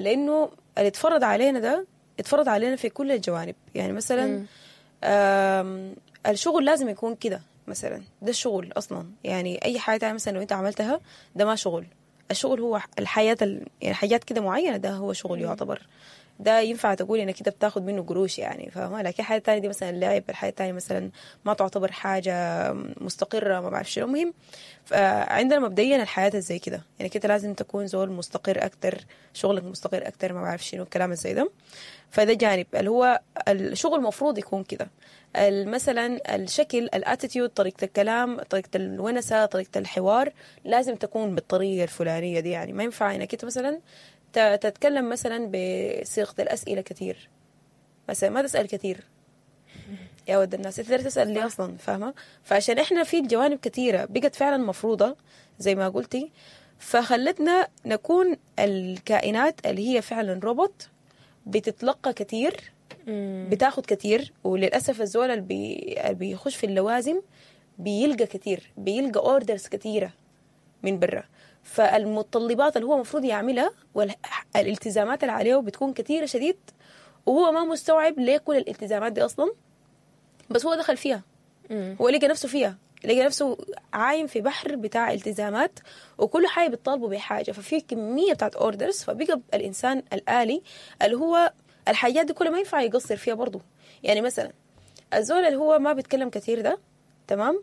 لأنه اللي اتفرض علينا ده اتفرض علينا في كل الجوانب. يعني مثلا الشغل لازم يكون كده مثلا، ده الشغل أصلا. يعني أي حاجة تانية مثلا لو أنت عملتها ده ما شغل. الشغل هو الحياة يعني حاجات كده معينة، ده هو شغل يعتبر. ده ينفع تقول انك انت بتاخد منه قروش يعني، فاهمه؟ لكن الحاجة الثانية دي مثلا لعب، الحاجة الثانية مثلا ما تعتبر حاجة مستقره، ما بعرف شنو. المهم فعندنا مبدئيا الحياة زي كده، يعني كده لازم تكون زول مستقر اكتر، شغلك مستقر اكتر، ما بعرف شنو الكلام زي ده. فده جانب اللي هو الشغل المفروض يكون كده. مثلا الشكل، ال attitude، طريقه الكلام، طريقه الونسه، طريقه الحوار لازم تكون بالطريقة الفلانية دي. يعني ما ينفع انك انت مثلا تتكلم مثلا بصيغة الاسئلة كثير، مثلا ما تسال كثير يا ود الناس، انت تسال ليه اصلا؟ فاهمه؟ فعشان احنا في جوانب كثيرة بقت فعلا مفروضة زي ما قلتي، فخلتنا نكون الكائنات اللي هي فعلا روبوت، بتتلقى كثير، بتاخد كثير. وللاسف الزول اللي بيخش في اللوازم بيلقى كثير، بيلقى orders كثيرة من برا، فالمتطلبات اللي هو المفروض يعملها والالتزامات اللي عليه بتكون كثيرة شديد، وهو ما مستوعب ليه كل الالتزامات دي اصلا، بس هو دخل فيها، هو لقى نفسه فيها، لقى نفسه عايم في بحر بتاع التزامات، وكل حاجة بتطالبه بحاجة، ففي كمية بتاعت orders. فبقى الانسان الالي اللي هو الحاجات دي كلها ما ينفع يقصر فيها برضه. يعني مثلا الزول اللي هو ما بيتكلم كثير ده، تمام،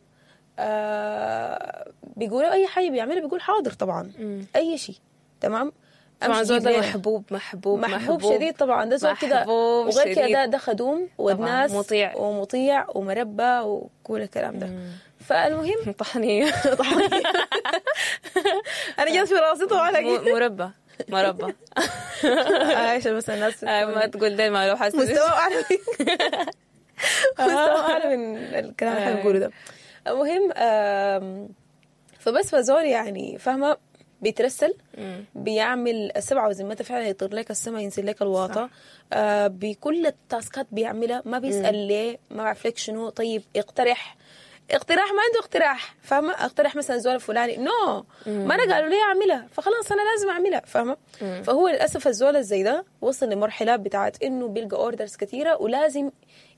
بيقولوا اي حاجة بيعملها بيقول حاضر طبعا، اي شيء، تمام. طبعا زول ده محبوب محبوب محبوب شديد طبعا، ده زول كده، وغير كده ده خدوم والناس مطيع ومطيع ومربى وكل الكلام ده. فالمهم طحنيه طحنيه انا جات في راسي طبعا مربى مربى عشان بس الناس ما تقول دايما لو حاسه مستوى اعلى، مستوى اعلى من الكلام اللي احنا بنقوله ده. المهم فبس فزول يعني فاهمه بيترسل، بيعمل السبعة وزمتها فعلا، يطير لك السما، ينزل لك الواطه، بكل التاسكات بيعملها، ما بيسال ليه، ما بعرف لك شنو، طيب اقترح اقتراح، ما عنده اقتراح، فاهمه؟ اقترح مثلا زول فلاني، no ما انا قالوا لي اعملها فخلاص انا لازم اعملها، فاهمه؟ فهو للاسف الزول زي ده وصل لمرحلة بتاعت انه بيلقى orders كثيرة ولازم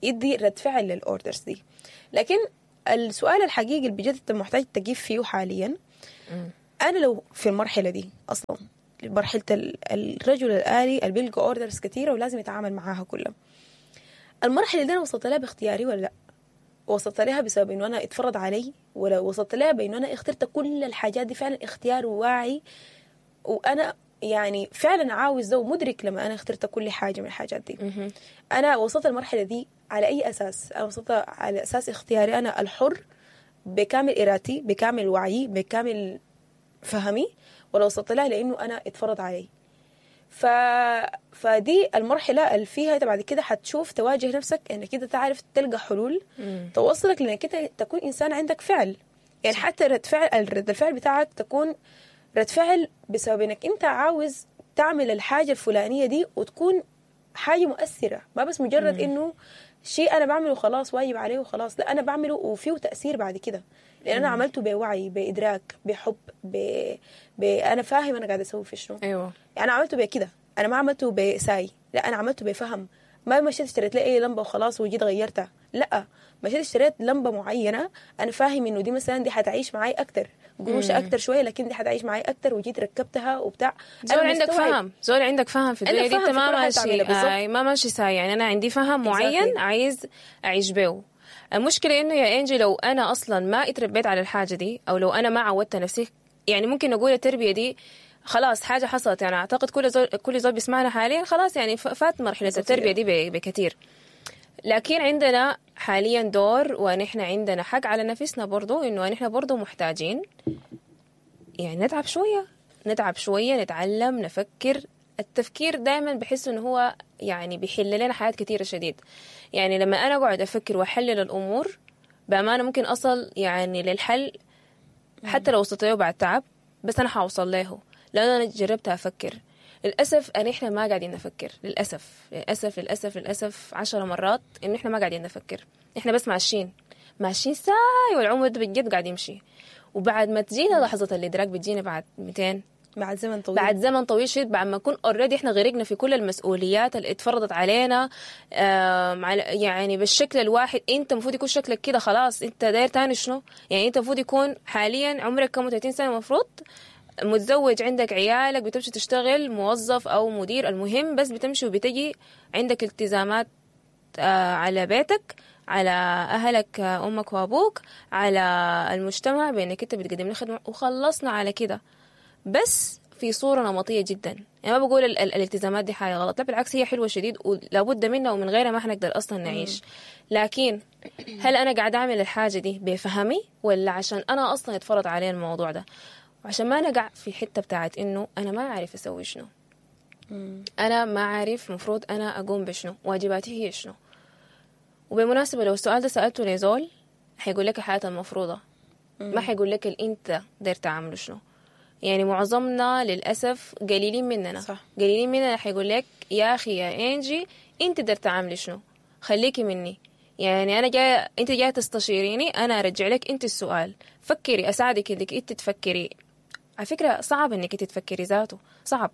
يدي رد فعل لل orders دي. لكن السؤال الحقيقي اللي بجد انت محتاج تجيب فيه حاليا، انا لو في المرحلة دي اصلا، مرحلة الرجل الالي اللي بيلقى orders كثيرة ولازم يتعامل معاها كلها، المرحلة دي انا وصلت لها باختياري ولا لا؟ وصلت لها بسبب انه انا اتفرض علي، ولا وصلت لها بانه انا اخترت كل الحاجات دي فعلا اختيار واعي، وانا يعني فعلا عاوز ده ومدرك لما انا اخترت كل حاجة من الحاجات دي. انا وصلت المرحلة دي على اي اساس؟ انا وصلت على اساس اختياري انا الحر، بكامل ارادتي، بكامل وعيي، بكامل فهمي، ولا وصلت لها لانه انا اتفرض علي؟ فدي المرحلة اللي فيها انت بعد كده حتشوف تواجه نفسك انك انت تعرف تلقى حلول توصلك لانك انت تكون انسان عندك فعل. يعني حتى رد فعل، رد الفعل بتاعك تكون رد فعل بسبب انك انت عاوز تعمل الحاجة الفلانية دي وتكون حاجة مؤثرة، ما بس مجرد انه شيء انا بعمله خلاص واجب عليه وخلاص، لا انا بعمله وفيه تاثير بعد كده، لان انا عملته بوعي، بادراك، بحب، انا فاهم انا قاعدة اسوي في شنو. ايوه انا عملته بكده، انا ما عملته بساي، لا انا عملته بفهم. ما مشيت اشتريت لي اي لمبة وخلاص وجيت غيرتها، لا مشيت اشتريت لمبة معينة انا فاهم انه دي مثلا دي حتعيش معي اكتر، قروش اكتر شوية لكن دي حتعيش معي اكتر، وجيت ركبتها وبتاع. زول عندك فهم، زول عندك فهم في الدنيا دي، انت ما ماشي ما ماشي ساي. يعني انا عندي فهم معين عايز اعيش بيه. المشكلة انه يا انجي لو انا اصلا ما اتربيت على الحاجة دي، او لو انا ما عودت نفسي، يعني ممكن نقول التربية دي خلاص حاجة حصلت. يعني اعتقد كل زول بيسمعنا حاليا خلاص يعني فات مرحلة التربية دي بكثير. لكن عندنا حاليا دور، ونحن عندنا حق على نفسنا برضو، انه نحن برضو محتاجين يعني نتعب شوية، نتعب شوية، نتعلم، نفكر. التفكير دائما بحس انه هو يعني بيحل لنا حاجات كثيرة شديد. يعني لما انا اقعد افكر واحلل الامور بامانه ممكن اصل يعني للحل، حتى لو وصلت له بعد تعب، بس انا حوصل له لان انا جربت افكر. للاسف ان احنا ما قاعدين نفكر، للاسف للاسف للاسف للاسف 10 مرات انه احنا ما قاعدين نفكر، احنا بس ماشيين ماشيين ساي، والعمر ده بجد قاعد يمشي. وبعد ما تجينا لحظة الادراك بتجينا بعد 200، بعد زمن طويل، بعد زمن طويل شديد، بعد ما نكون already احنا غرقنا في كل المسؤوليات اللي اتفرضت علينا، يعني بالشكل الواحد. انت المفروض يكون شكلك كده خلاص، انت داير تاني شنو؟ يعني انت المفروض يكون حاليا عمرك كم، 30 سنة المفروض متزوج عندك عيالك، بتمشي تشتغل موظف او مدير، المهم بس بتمشي وبتجي عندك التزامات على بيتك، على اهلك، امك وابوك، على المجتمع بانك انت بتقدم له خدمة، وخلصنا على كده. بس في صورة نمطية جدا. يعني ما بقول الالتزامات دي حاجة غلط، لا بالعكس هي حلوة شديد ولابد منها، ومن غيرها ما حنقدر أصلا نعيش. لكن هل أنا قاعدة أعمل الحاجة دي بفهمي ولا عشان أنا أصلا اتفرض علي الموضوع ده؟ وعشان ما نقع في حتة بتاعت إنه أنا ما عارف أسوي شنو، أنا ما عارف مفروض أنا أقوم بشنو، واجباتي هي شنو. وبالمناسبة لو السؤال ده سألته لزول حيقول لك الحياة المفروضة، ما حيقول لك اللي أنت داير تعمله شنو. يعني معظمنا للأسف قليلين مننا، صح. قليلين مننا حيقول لك يا أخي يا إنجي أنت داير تعملي شنو، خليكي مني، يعني أنا جاية، أنت جاية تستشيريني، أنا أرجع لك أنت السؤال، فكري، أساعدك إنك أنت تفكري. على فكرة صعب إنك أنت تفكري ذاته، صعب،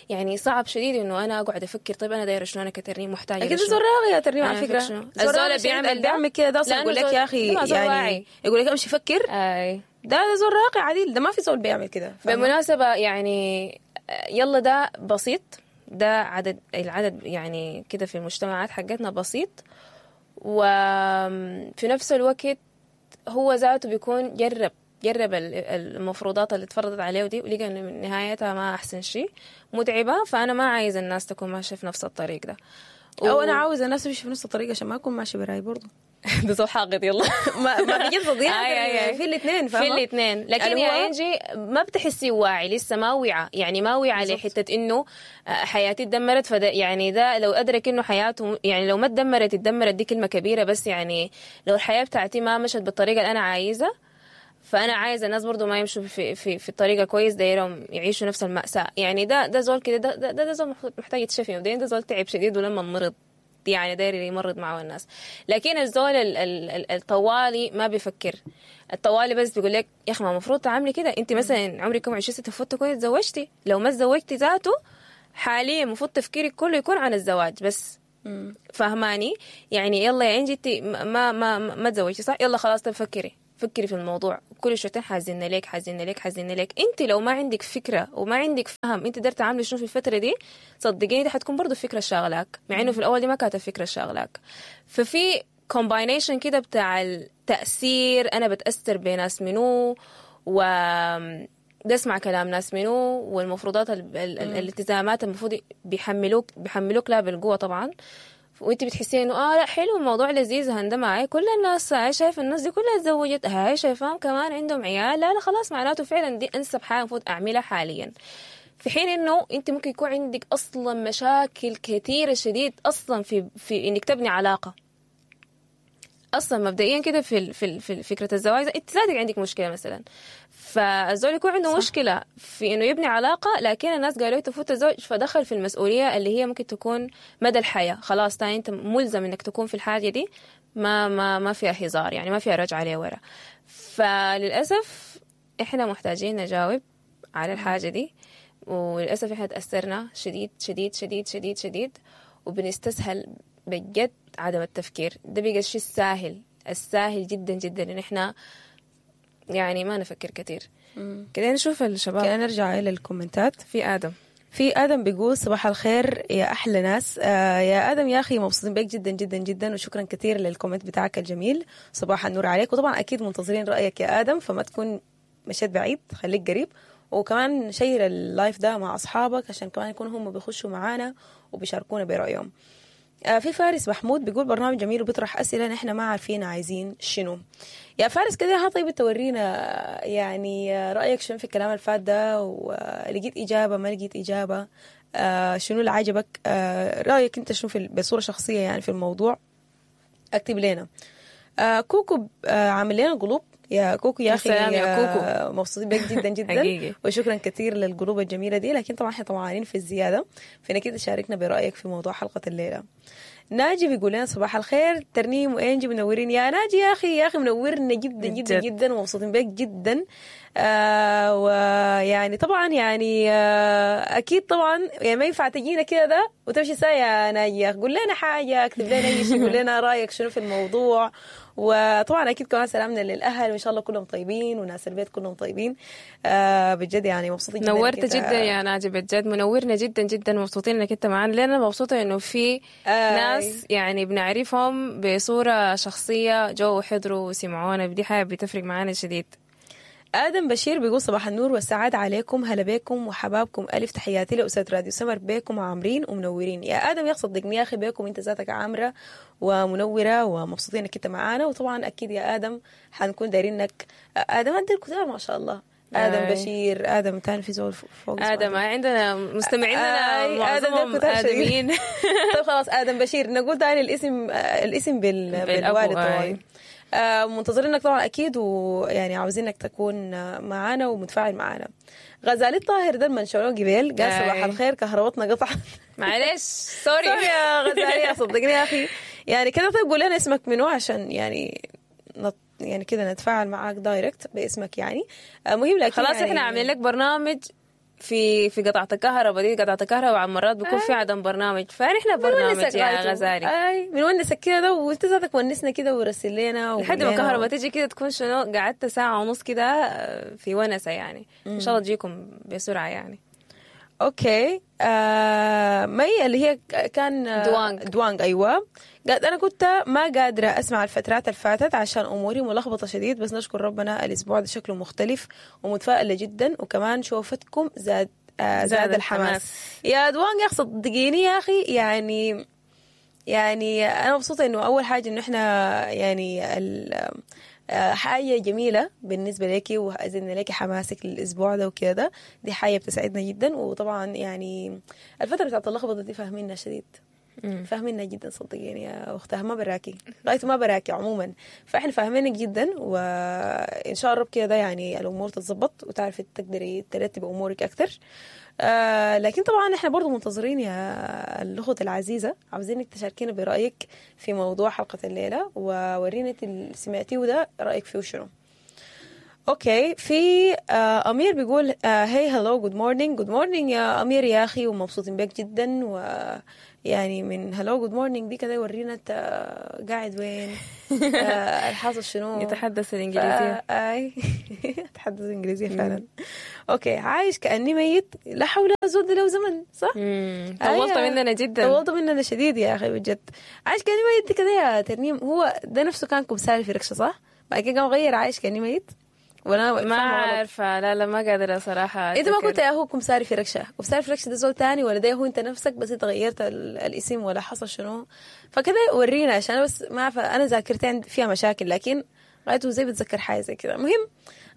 يعني صعب شديد إنه أنا أقعد أفكر طيب أنا دايرة شنو، أنا كترنيم محتاجة أكيد شنو. زول راغي يا ترنيم على أنا فكرة. فكرة شنو؟ زول الزول راغي اللي شديد، بيعمل اللي ده بيعمل كده ده أصلا لأنه يقول لك زول- يا أخي، ده زول يعني واعي. يقول لك امشي فكر. أي. ده زول راقي عديل، ده ما في زول بيعمل كده. فاهمة؟ بالمناسبة يعني يلا ده بسيط، ده عدد، العدد يعني كده في المجتمعات حقتنا بسيط، وفي نفس الوقت هو ذاته بيكون جرب المفروضات اللي اتفرضت عليه دي، ولقى انه من نهايتها ما احسن شيء، متعبة، فانا ما عايز الناس تكون ماشية في نفس الطريق ده. او انا عاوز الناس تمشي في نفس الطريق عشان ما اكون ماشي براي برضه. ده زول حاقد. يلا ما بيجي تضيع آي آي آي. في الاثنين، في فاهمة؟ الاثنين. لكن يعني يا هو- انجي ما بتحسي واعي، لسه ما وعى، يعني ما وعى بالظبط. لحته انه حياتي اتدمرت. فده يعني ده لو ادرك انه حياته، يعني لو ما اتدمرت، اتدمرت دي كلمة كبيرة، بس يعني لو الحياة بتاعتي ما مشت بالطريقة اللي انا عايزه، فانا عايزه الناس برضو ما يمشوا في في في الطريقة كويس، دايرهم يعيشوا نفس المأساة. يعني ده زول كده، ده زول محتاج يتشفي مبدئيا، ده زول تعب شديد ولما مرض يعني داير يمرض معه الناس. لكن الزول الطوالي ما بيفكر، الطوالي بس بيقول لك يا اخي ما المفروض تعملي كده، انت مثلا عمرك كم 20 سنة المفروض تكوني تزوجتي، لو ما تزوجتي ذاته حاليا المفروض تفكيرك كله يكون عن الزواج بس. فهماني؟ يعني يلا يا انجي انت ما ما ما, ما تزوجتي صح، يلا خلاص طب فكري في الموضوع، كل شويتين حازلنا لك حازلنا لك حازلنا لك. انت لو ما عندك فكرة وما عندك فهم انت قدرت تعملي شنو في الفترة دي، صدقيني دي حتكون برضو فكرة شاغلاك، مع انه في الاول دي ما كانت الفكرة شاغلاك. ففي combination كده بتاع التاثير، انا بتاثر بناس منو، و بسمع كلام ناس منو، والمفروضات الالتزامات المفروض بيحملوك لا بالقوة طبعا، وانت بتحسي انه لا حلو الموضوع لذيذ، هندم معاي كل الناس، هاي شايف الناس دي كلها اتزوجت، هاي شايفاهم كمان عندهم عيال، لا لا خلاص معناته فعلا دي انسب حاجة المفروض اعملها حاليا. في حين انه انت ممكن يكون عندك اصلا مشاكل كثيرة شديد اصلا في انك تبني علاقة اصلا مبدئيا كده في في في فكرة الزواج، انت ذاتك عندك مشكلة مثلا، فالزول يكون عنده صح. مشكلة في انه يبني علاقة، لكن الناس قالوا تفوت الزوج، فدخل في المسؤولية اللي هي ممكن تكون مدى الحياة، خلاص تاني انت ملزم انك تكون في الحاجة دي، ما ما ما فيها هزار، يعني ما فيها رجعه لورا. فللاسف احنا محتاجين نجاوب على الحاجة دي، وللاسف احنا تاثرنا شديد شديد شديد شديد شديد، وبنستسهل بجد عدم التفكير ده، بقى الشيء الساهل الساهل جدا جدا ان احنا يعني ما نفكر كثير. كده نشوف الشباب، كده نرجع الى الكومنتات. في ادم، في ادم بيقول صباح الخير يا احلى ناس. يا ادم يا اخي مبسوطين بك جدا جدا جدا، وشكرا كثير لل comment بتاعك الجميل، صباح النور عليك. وطبعا اكيد منتظرين رايك يا ادم، فما تكون مشيت بعيد، خليك قريب، وكمان share ال live ده مع اصحابك عشان كمان يكونوا هم بيخشوا معانا وبيشاركونا برايهم. في فارس محمود بيقول برنامج جميل وبيطرح أسئلة نحن ما عارفين عايزين شنو. يا فارس كده ها، طيب تورينا يعني رأيك شنو في الكلام الفات ده، ولقيت إجابة ما لقيت إجابة، شنو اللي عجبك، رأيك أنت شنو في بصورة شخصية يعني في الموضوع، اكتب لنا. كوكو عامل لنا قلوب، يا كوكو يا اخي سلام يا كوكو، مبسوطين بك جدا جدا حقيقي. وشكرا كثير للقلوب الجميلة دي، لكن طبعا احنا طمعانين في الزيادة، فانك تشاركنا برايك في موضوع حلقة الليلة. ناجي بيقول لنا صباح الخير ترنيم وانجي منورين يا ناجي. يا اخي يا اخي منورنا جدا جدا بجد. جدا ومبسوطين بك جدا. ويعني طبعا يعني اكيد طبعا يعني ما ينفع تجينا كده ده وتمشي ساي يا ناجي يا أخي. قول لنا حاجة، اكتب لنا اي شيء، قول لنا رايك شنو في الموضوع. وطبعا اكيد كمان سلامنا للاهل وان شاء الله كلهم طيبين وناس البيت كلهم طيبين. بجد يعني مبسوطين جدا نورت إنك أنت- جدا يا ناجي، بجد منورنا جدا جدا، مبسوطين انك انت معانا. لأن مبسوطة انه في ناس يعني بنعرفهم بصورة شخصية جو وحضروا وسمعونا، دي حاجة بتفرق معانا شديد. آدم بشير بيقول صباح النور والسعادة عليكم، هلا بيكم وحبابكم، ألف تحياتي لأسرة راديو سمر، بيكم عامرين ومنورين. يا آدم يا أخي صدقني يا أخي بيكم أنت ذاتك عامرة ومنورة ومبسوطين إنك أنت معانا. وطبعا أكيد يا آدم حنكون دايرينك. آدم أنت الكتاب ما شاء الله. آدم آي. بشير، آدم تاني في زول فوق اسمه آدم عندنا مستمعيننا آي، آدم ده معظمهم كتار شديد. آدميين. طيب خلاص آدم بشير، نقول تاني الاسم، الاسم بالأبو، بالوالد آي. طبعا. منتظرينك طبعا اكيد، ويعني عاوزينك تكون معانا ومتفاعل معانا. غزالي الطاهر ده المنشورون قبيل قال آي. صباح الخير كهربتنا قطعت. معلش sorry. sorry يا غزالي، صدقني يا اخي يعني كده. طيب قول لنا اسمك منو عشان يعني يعني كده نتفاعل معاك direct باسمك يعني. مهم لكن خلاص يعني احنا عاملين لك برنامج في قطعة الكهرباء دي. قطعة الكهرباء عن مرات بيكون في عدم برنامج، فنحن برنامج بنونسك يا غايته. غزالي. اي بنونسك كده ده، وانت ذاتك ونسنا كده ورسل لنا وقول لحد ما لنا. الكهرباء تيجي كده تكون شنو قعدت ساعة ونص كده في ونسة يعني. إن شاء الله تجيكم بسرعة يعني. okay. مي اللي هي كان دوانج. دوانج ايوه. قالت انا كنت ما قادرة اسمع الفترات اللي فاتت عشان اموري ملخبطة شديد، بس نشكر ربنا الاسبوع ده شكله مختلف ومتفائله جدا، وكمان شوفتكم زاد زاد الحماس. الحماس. يا دوانج يا اخي صدقيني يا اخي يعني انا مبسوطة انه اول حاجة انه احنا يعني حاجة جميلة بالنسبة لك وزدنا لك حماسك للاسبوع ده وكده، دي حاجة بتسعدنا جدا. وطبعا يعني الفترة بتاعت اللخبطة دي فاهمينها شديد، فاهمينها جدا صدقيني يا اختها، ما براكي غايته ما براكي عموما، فاحنا فاهمينك جدا. وان شاء الله رب كده يعني الامور تتظبط وتعرفي تقدري ترتبي امورك اكثر. لكن طبعا احنا برضو منتظرين يا الاخت العزيزة، عاوزينك تشاركينا برايك في موضوع حلقة الليلة، وورينا انت اللي سمعتيه ده رايك فيه شنو. okay في امير بيقول hey hello good morning. good morning يا امير يا اخي، ومبسوطين بك جدا. ويعني من hello good morning دي كده ورينا انت قاعد وين، الحاصل شنو. يتحدث الإنجليزية. اي اتحدث انجليزية فعلا. okay عايش كاني ميت، لا حول زود له زمن صح؟ طولت أيوة. مننا جدا. طولت مننا شديد يا اخي بجد. عايش كاني ميت كده يا ترنيم، هو ده نفسه كان كمساري في ركشه صح؟ بعد كده قام غير عايش كاني ميت، ولا ما عارفة، لا لا ما قادرة صراحة. انت ما أتذكر. كنت يا هو كمساري في ركشه، كمساري في ركشه ده زول تاني ولا ده هو انت نفسك بس انت غيرت الاسم ولا حصل شنو؟ فكده ورينا عشان انا بس ما عارفه، انا ذاكرتي فيها مشاكل، لكن غايته زي بتذكر حاجة زي كده. المهم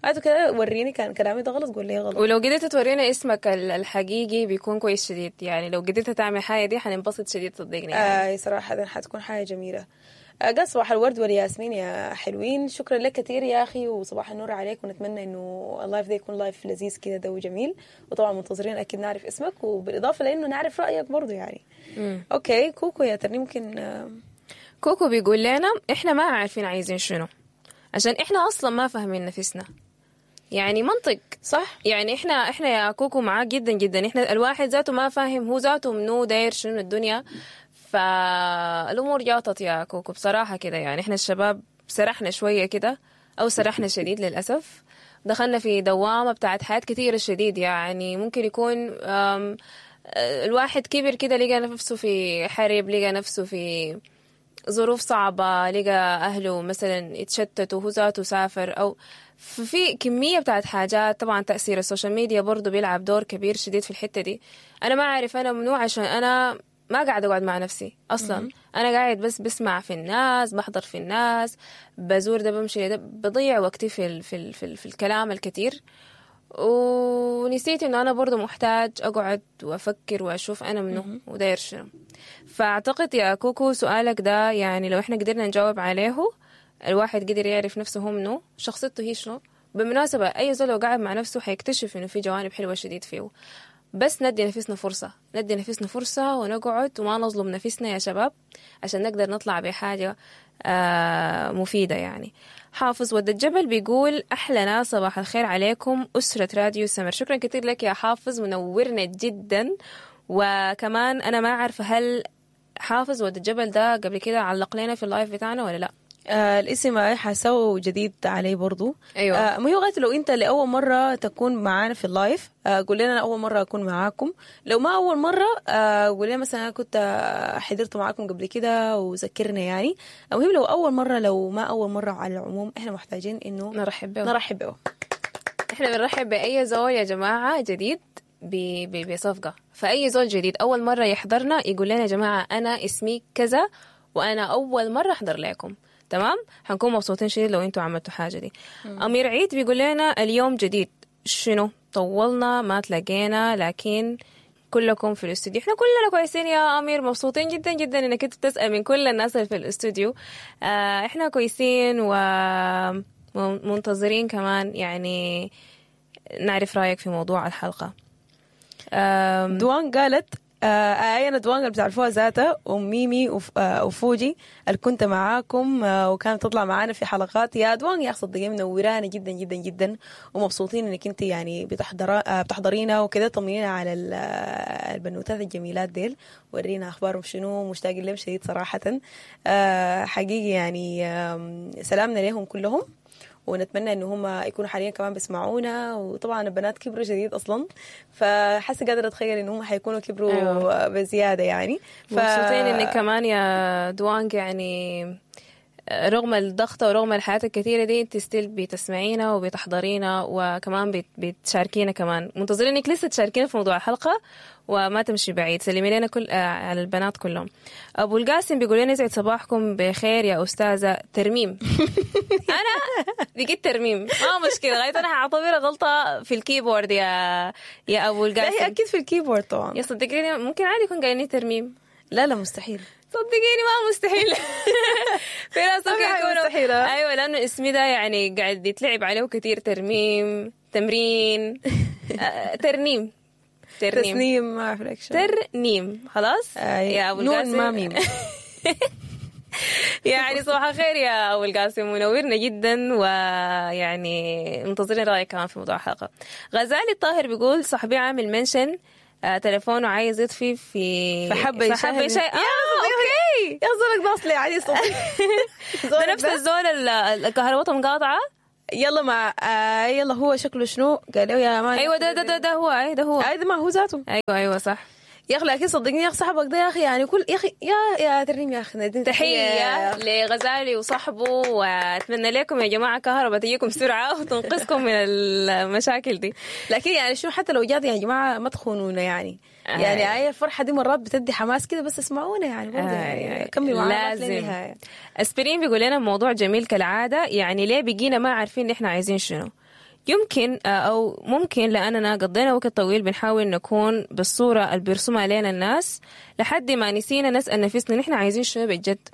غايته كده وريني كان كلامي ده غلط قول لي غلط. ولو قدرت تورينا اسمك الحقيقي بيكون كويس شديد يعني، لو قدرت تعمل حاجة دي حننبسط شديد صدقني يعني. صراحة حتكون حاجة جميلة. قال صباح الورد والياسمين يا حلوين، شكرا لك كثير يا أخي وصباح النور عليك، ونتمنى إنه ال live ده يكون live لذيذ كده ده وجميل. وطبعا منتظرين أكيد نعرف اسمك، وبالإضافة لأنه نعرف رأيك برضو يعني. okay كوكو يا ترني ممكن كوكو بيقول لنا إحنا ما عارفين عايزين شنو، عشان إحنا أصلا ما فاهمين نفسنا يعني، منطق صح يعني. احنا يا كوكو معاك جدا جدا، احنا الواحد ذاته ما فاهم هو ذاته منو داير شنو الدنيا، فالامور جاطت يا كوكو بصراحة كده يعني. احنا الشباب سرحنا شوية كده، او سرحنا شديد للاسف، دخلنا في دوامه بتاعت حياة كثيرة شديد يعني. ممكن يكون الواحد كبر كده لقى نفسه في حرب، لقى نفسه في ظروف صعبة، لقى أهله مثلا يتشتتوا، هو ذاته سافر، أو في كمية بتاعت حاجات. طبعا تأثير ال social media برضو بيلعب دور كبير شديد في الحتة دي. أنا ما أعرف أنا منو عشان أنا ما قاعد أقعد مع نفسي أصلا. أنا قاعد بس بسمع في الناس، بحضر في الناس، بزور ده، بمشي ده، بضيع وقتي في ال في ال في, ال في الكلام الكثير، ونسيت إنه أنا برضو محتاج أقعد وأفكر وأشوف أنا منو وداير شنو. فأعتقد يا كوكو سؤالك ده يعني لو إحنا قدرنا نجاوب عليه، الواحد قدر يعرف نفسه هو منو، شخصيته هي شنو. بالمناسبة أي زول لو قاعد مع نفسه حيكتشف إنه في جوانب حلوة شديد فيه. بس ندي نفسنا فرصة، ندي نفسنا فرصة ونقعد وما نظلم نفسنا يا شباب، عشان نقدر نطلع بحاجة مفيدة يعني. حافظ ود الجبل بيقول أحلى ناس، صباح الخير عليكم أسرة راديو سمر. شكرا كثير لك يا حافظ، منورنا جدا. وكمان أنا ما عارفة هل حافظ ود الجبل ده قبل كده علق لنا في ال live بتاعنا ولا لا؟ الاسم حاسه جديد علي برضو. ايوه. ما هو غاية لو انت لاول مرة تكون معانا في ال live، قول لنا انا اول مرة اكون معاكم. لو ما اول مرة، قول لنا مثلا انا كنت حضرت معاكم قبل كده وذكرنا يعني. المهم لو اول مرة، لو ما اول مرة، على العموم احنا محتاجين انه نرحب به. نرحب به. احنا بنرحب باي زول يا جماعة جديد بصفقة. فاي زول جديد اول مرة يحضرنا يقول لنا يا جماعة انا اسمي كذا وانا اول مرة احضر لكم، تمام؟ حنكون مبسوطين شديد لو انتوا عملتوا حاجة دي. امير عيد بيقول لنا اليوم جديد شنو؟ طولنا ما تلاقينا، لكن كلكم في الاستوديو. احنا كلنا كويسين يا امير، مبسوطين جدا جدا انك انت بتسال من كل الناس اللي في الاستوديو. احنا كويسين ومنتظرين كمان يعني نعرف رايك في موضوع الحلقة. دوان قالت انا دوان اللي بتعرفوها ذاتها، ام ميمي وفوجي اللي كنت معاكم، وكانت تطلع معانا في حلقات. يا دوان يا صدقيني منورانا جدا جدا جدا، ومبسوطين انك انت يعني بتحضرينا وكده. طمنينا على البنوتات الجميلات ديل، ورينا اخبارهم شنو، مشتاقين لهم شديد صراحة. حقيقي يعني سلامنا لهم كلهم، ونتمنى ان هم يكونوا حاليا كمان بيسمعونا. وطبعا البنات كبروا شديد اصلا، فحاسه قادرة اتخيل ان هم حيكونوا كبروا. أيوة. بزيادة يعني. مبسوطين انك كمان يا دوانج يعني رغم الضغط ورغم الحياة الكثيرة دي انت still بتسمعينا وبتحضرينا وكمان بتشاركينا كمان. منتظرين انك لسه تشاركينا في موضوع الحلقة وما تمشي بعيد. سلمي لنا كل على البنات كلهم. ابو القاسم بيقول لنا يسعد صباحكم بخير يا استاذة ترميم. انا بقيت ترميم، ما مشكلة، غاية انا هعتبرها غلطة في ال keyboard يا ابو القاسم. لا هي اكيد في ال keyboard طبعا. يا صدقيني ممكن عادي يكون قايلني ترميم. لا لا مستحيل، صدقيني ما مستحيل. في ناس ممكن يكونوا مستحيل. ايوه، لانه اسمي ده يعني قاعد يتلعب عليه كثير. ترميم، تمرين، ترنيم، ترنيم، تسنيم، ما اعرف لك شو. ترنيم خلاص. يا ابو القاسم نون ما ميم. يعني صباح الخير يا ابو القاسم، منورنا جدا، ويعني منتظرين رايك كمان في موضوع الحلقة. غزالي الطاهر بيقول صاحبي عامل mention، تليفونه عايز يطفي في فحبه يشاهد. okay يا زولك ده اصلي عادي صوتي. ده نفس الزول الكهرباء مقاطعه. يلا مع يلا هو شكله شنو قال له يا man. ايوه ده ده ده, ده هو، اي ده هو، اي ده ما هو ذاته. ايوه صح يا اخي. لكن صدقني يا اخي صاحبك ده يا اخي يعني كل يا اخي يا ترنيم يا اخي. تحية لغزالي وصاحبه، واتمنى لكم يا جماعة كهرباء تجيكم سرعة وتنقذكم من المشاكل دي. لكن يعني شو حتى لو جات يا جماعة ما تخونونا يعني. يعني اي الفرحة دي مرات بتدي حماس كده، بس اسمعونا يعني برضه يعني كملوا معانا للنهاية. اسبرين بيقول لنا موضوع جميل كالعادة، يعني ليه بقينا ما عارفين احنا عايزين شنو؟ يمكن أو ممكن لأننا قضينا وقت طويل بنحاول نكون بالصورة اللي بيرسمها علينا الناس لحد ما نسينا نسأل نفسنا نحن عايزين شنو بجد.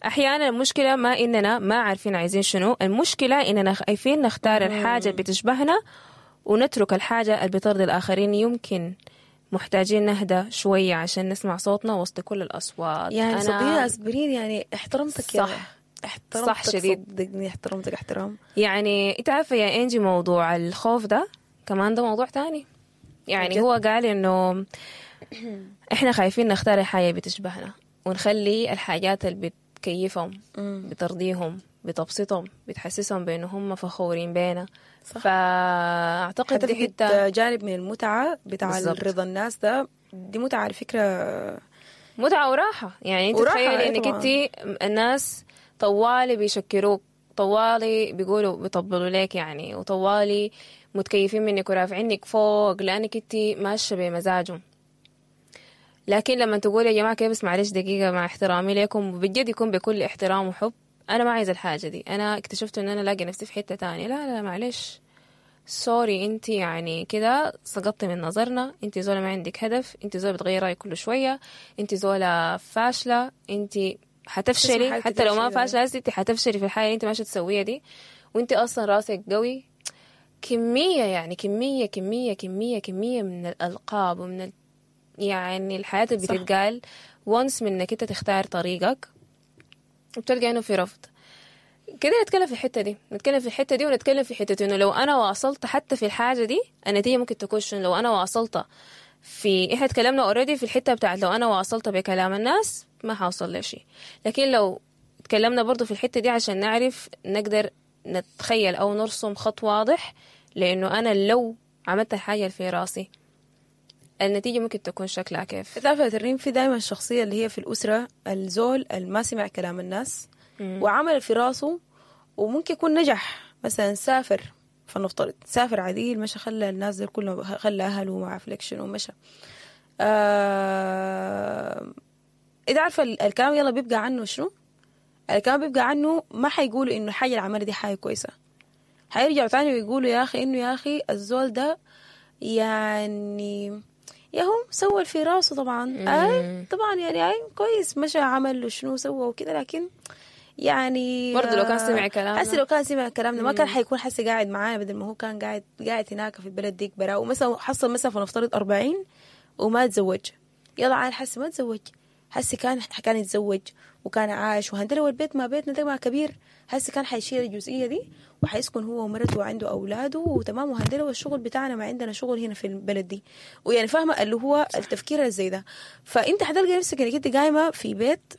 أحيانا المشكلة ما إننا ما عارفين عايزين شنو، المشكلة إننا خايفين نختار الحاجة اللي بتشبهنا ونترك الحاجة اللي بترضي الآخرين. يمكن محتاجين نهدى شوية عشان نسمع صوتنا وسط كل الأصوات. يعني صديقة أسبرين يعني احترمتك. صح احترمتك صح شديد، صدقني احترمتك احترام. يعني انت عارفه يا انجي موضوع الخوف ده كمان ده موضوع تاني يعني. هو قال انه احنا خايفين نختار الحاجة بتشبهنا ونخلي الحاجات اللي بتكيفهم، بترضيهم، بتبسطهم، بتحسسهم بانه هم فخورين بينا. صح. فاعتقد دي حتة جانب من المتعة بتاع رضا الناس ده، دي متعه على فكرة، متعه وراحة. يعني انت تخيلي انك انت الناس طوالي بيشكروك، طوالي بيقولوا بيطبلوا لك يعني، وطوالي متكيفين منك ورافعينك فوق لانك انت ماشية بمزاجهم. لكن لما تقول يا جماعة كيف، بس معلش دقيقة، مع احترامي لكم، بجد يكون بكل احترام وحب، انا ما عايزه الحاجة دي، انا اكتشفت ان انا لاقي نفسي في حتة تانية. لا لا معلش sorry، انت يعني كده سقطتي من نظرنا، انت زوله ما عندك هدف، انت زوله بتغير رايك كل شوية، انت زوله فاشلة، انت حتفشلي حتى لو ما فاشلة، انت حتفشلي في الحياة اللي انت ماشية تسويها دي، وانت اصلا راسك قوي. كمية، يعني كمية كمية كمية كمية من الألقاب ومن يعني الحياة اللي بتتقال once من انك انت تختار طريقك، وبتلقى انه في رفض كده. نتكلم في الحتة دي، نتكلم في الحتة دي، ونتكلم في حتة انه لو انا واصلت حتى في الحاجة دي، النتيجة ممكن تكون شنو؟ لو انا واصلت في، احنا اتكلمنا already في الحتة بتاعت لو انا واصلت بكلام الناس ما حوصل لشيء، لكن لو تكلمنا برضو في الحتة دي عشان نعرف نقدر نتخيل او نرسم خط واضح، لانه انا لو عملت الحاجة اللي في راسي النتيجة ممكن تكون شكلها كيف. تعرف يا ترنيم، في دايما الشخصية اللي هي في الأسرة، الزول اللي ما سمع كلام الناس وعمل في راسه، وممكن يكون نجح، مثلا سافر، فلنفترض سافر عديل، مشى خلى الناس دي كلهم، خلى أهله وما عارف لك شنو مشى. إذا عارفة الكلام يلا بيبقى عنه شنو؟ الكلام بيبقى عنه ما حيقولوا إنه الحاجة اللي عملها دي حاجة كويسة، حيرجعوا تاني ويقولوا يا أخي إنه يا أخي الزول ده يعني يا هو سوى في راسه طبعا، اي طبعا يعني اي كويس، مشى عمل وشنو سوى وكده، لكن يعني برضه لو كان سمع كلامنا. حسي لو كان سمع كلامنا ما كان حيكون حسي قاعد معانا، بدل ما هو كان قاعد هناك في البلد ديك برا. ومثلا حصل مثلا فنفترض 40 وما تزوج، يلا عاد حسي ما تزوج، حسي كان يتزوج وكان عايش وهندله، والبيت ما بيتنا ده ما كبير، هسه كان حيشيل الجزئية دي وحيسكن هو ومرته وعنده اولاده وتمام، وهندله والشغل بتاعنا ما عندنا شغل هنا في البلد دي، ويعني فاهمه اللي هو التفكير زي ده. فانت حتلقى نفسك انك انت قايمة في بيت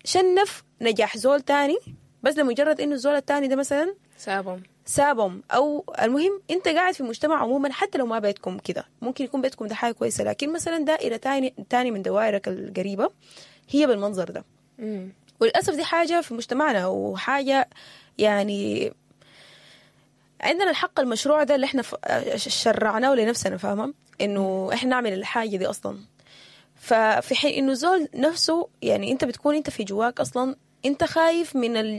شنف نجاح زول تاني، بس لمجرد انه الزول التاني ده مثلا سابهم. سابهم، او المهم انت قاعد في مجتمع عموما، حتى لو ما بيتكم كده، ممكن يكون بيتكم ده حاجة كويسة، لكن مثلا دائرة تاني من دوائرك القريبة هي بالمنظر ده. وللاسف دي حاجة في مجتمعنا، وحاجه يعني عندنا الحق المشروع ده اللي احنا شرعناه لنفسنا، فاهمه انه احنا نعمل الحاجة دي اصلا. ففي حين انه زول نفسه يعني انت بتكون انت في جواك اصلا انت خايف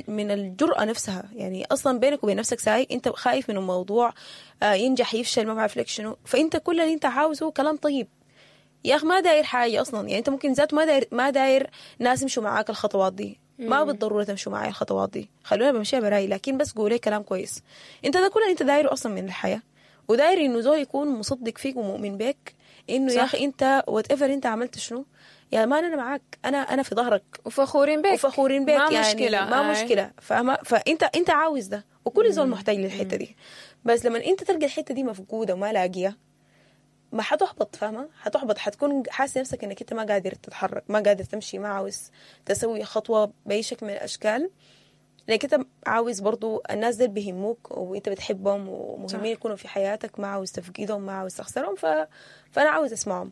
من الجرأة نفسها، يعني اصلا بينك وبين نفسك ساي انت خايف من الموضوع، ينجح يفشل ما بعرف لك شنو. فانت كل اللي انت عاوزه كلام طيب يا اخي، ما داير حاجة اصلا، يعني انت ممكن ذات ما داير ناس يمشوا معاك الخطوات دي، ما بالضرورة تمشوا معاي الخطوات دي، خلونا بمشيها براي، لكن بس قولي كلام كويس. انت ده كل اللي انت دايرة اصلا من الحياة، وداير انه زول يكون مصدق فيك ومؤمن بك انه يا اخي انت whatever انت عملت شنو يا man انا معاك، انا في ظهرك، وفخورين بك، وفخورين بك، ما يعني مشكلة، ما مشكلة، فاهمه؟ فانت عاوز ده، وكل زول محتاج للحتة دي. بس لما انت تلقى الحتة دي مفقودة وما لاقيها، ما حتحبط، فاهمه؟ حتحبط، حتكون حاسه نفسك انك انت ما قادر تتحرك، ما قادر تمشي، ما عاوز تسوي خطوة باي شكل من الاشكال، لانك انت عاوز برضو الناس دول بيهموك وانت بتحبهم ومهمين يكونوا في حياتك، ما عاوز تفقدهم، ما عاوز تخسرهم، فانا عاوز اسمعهم.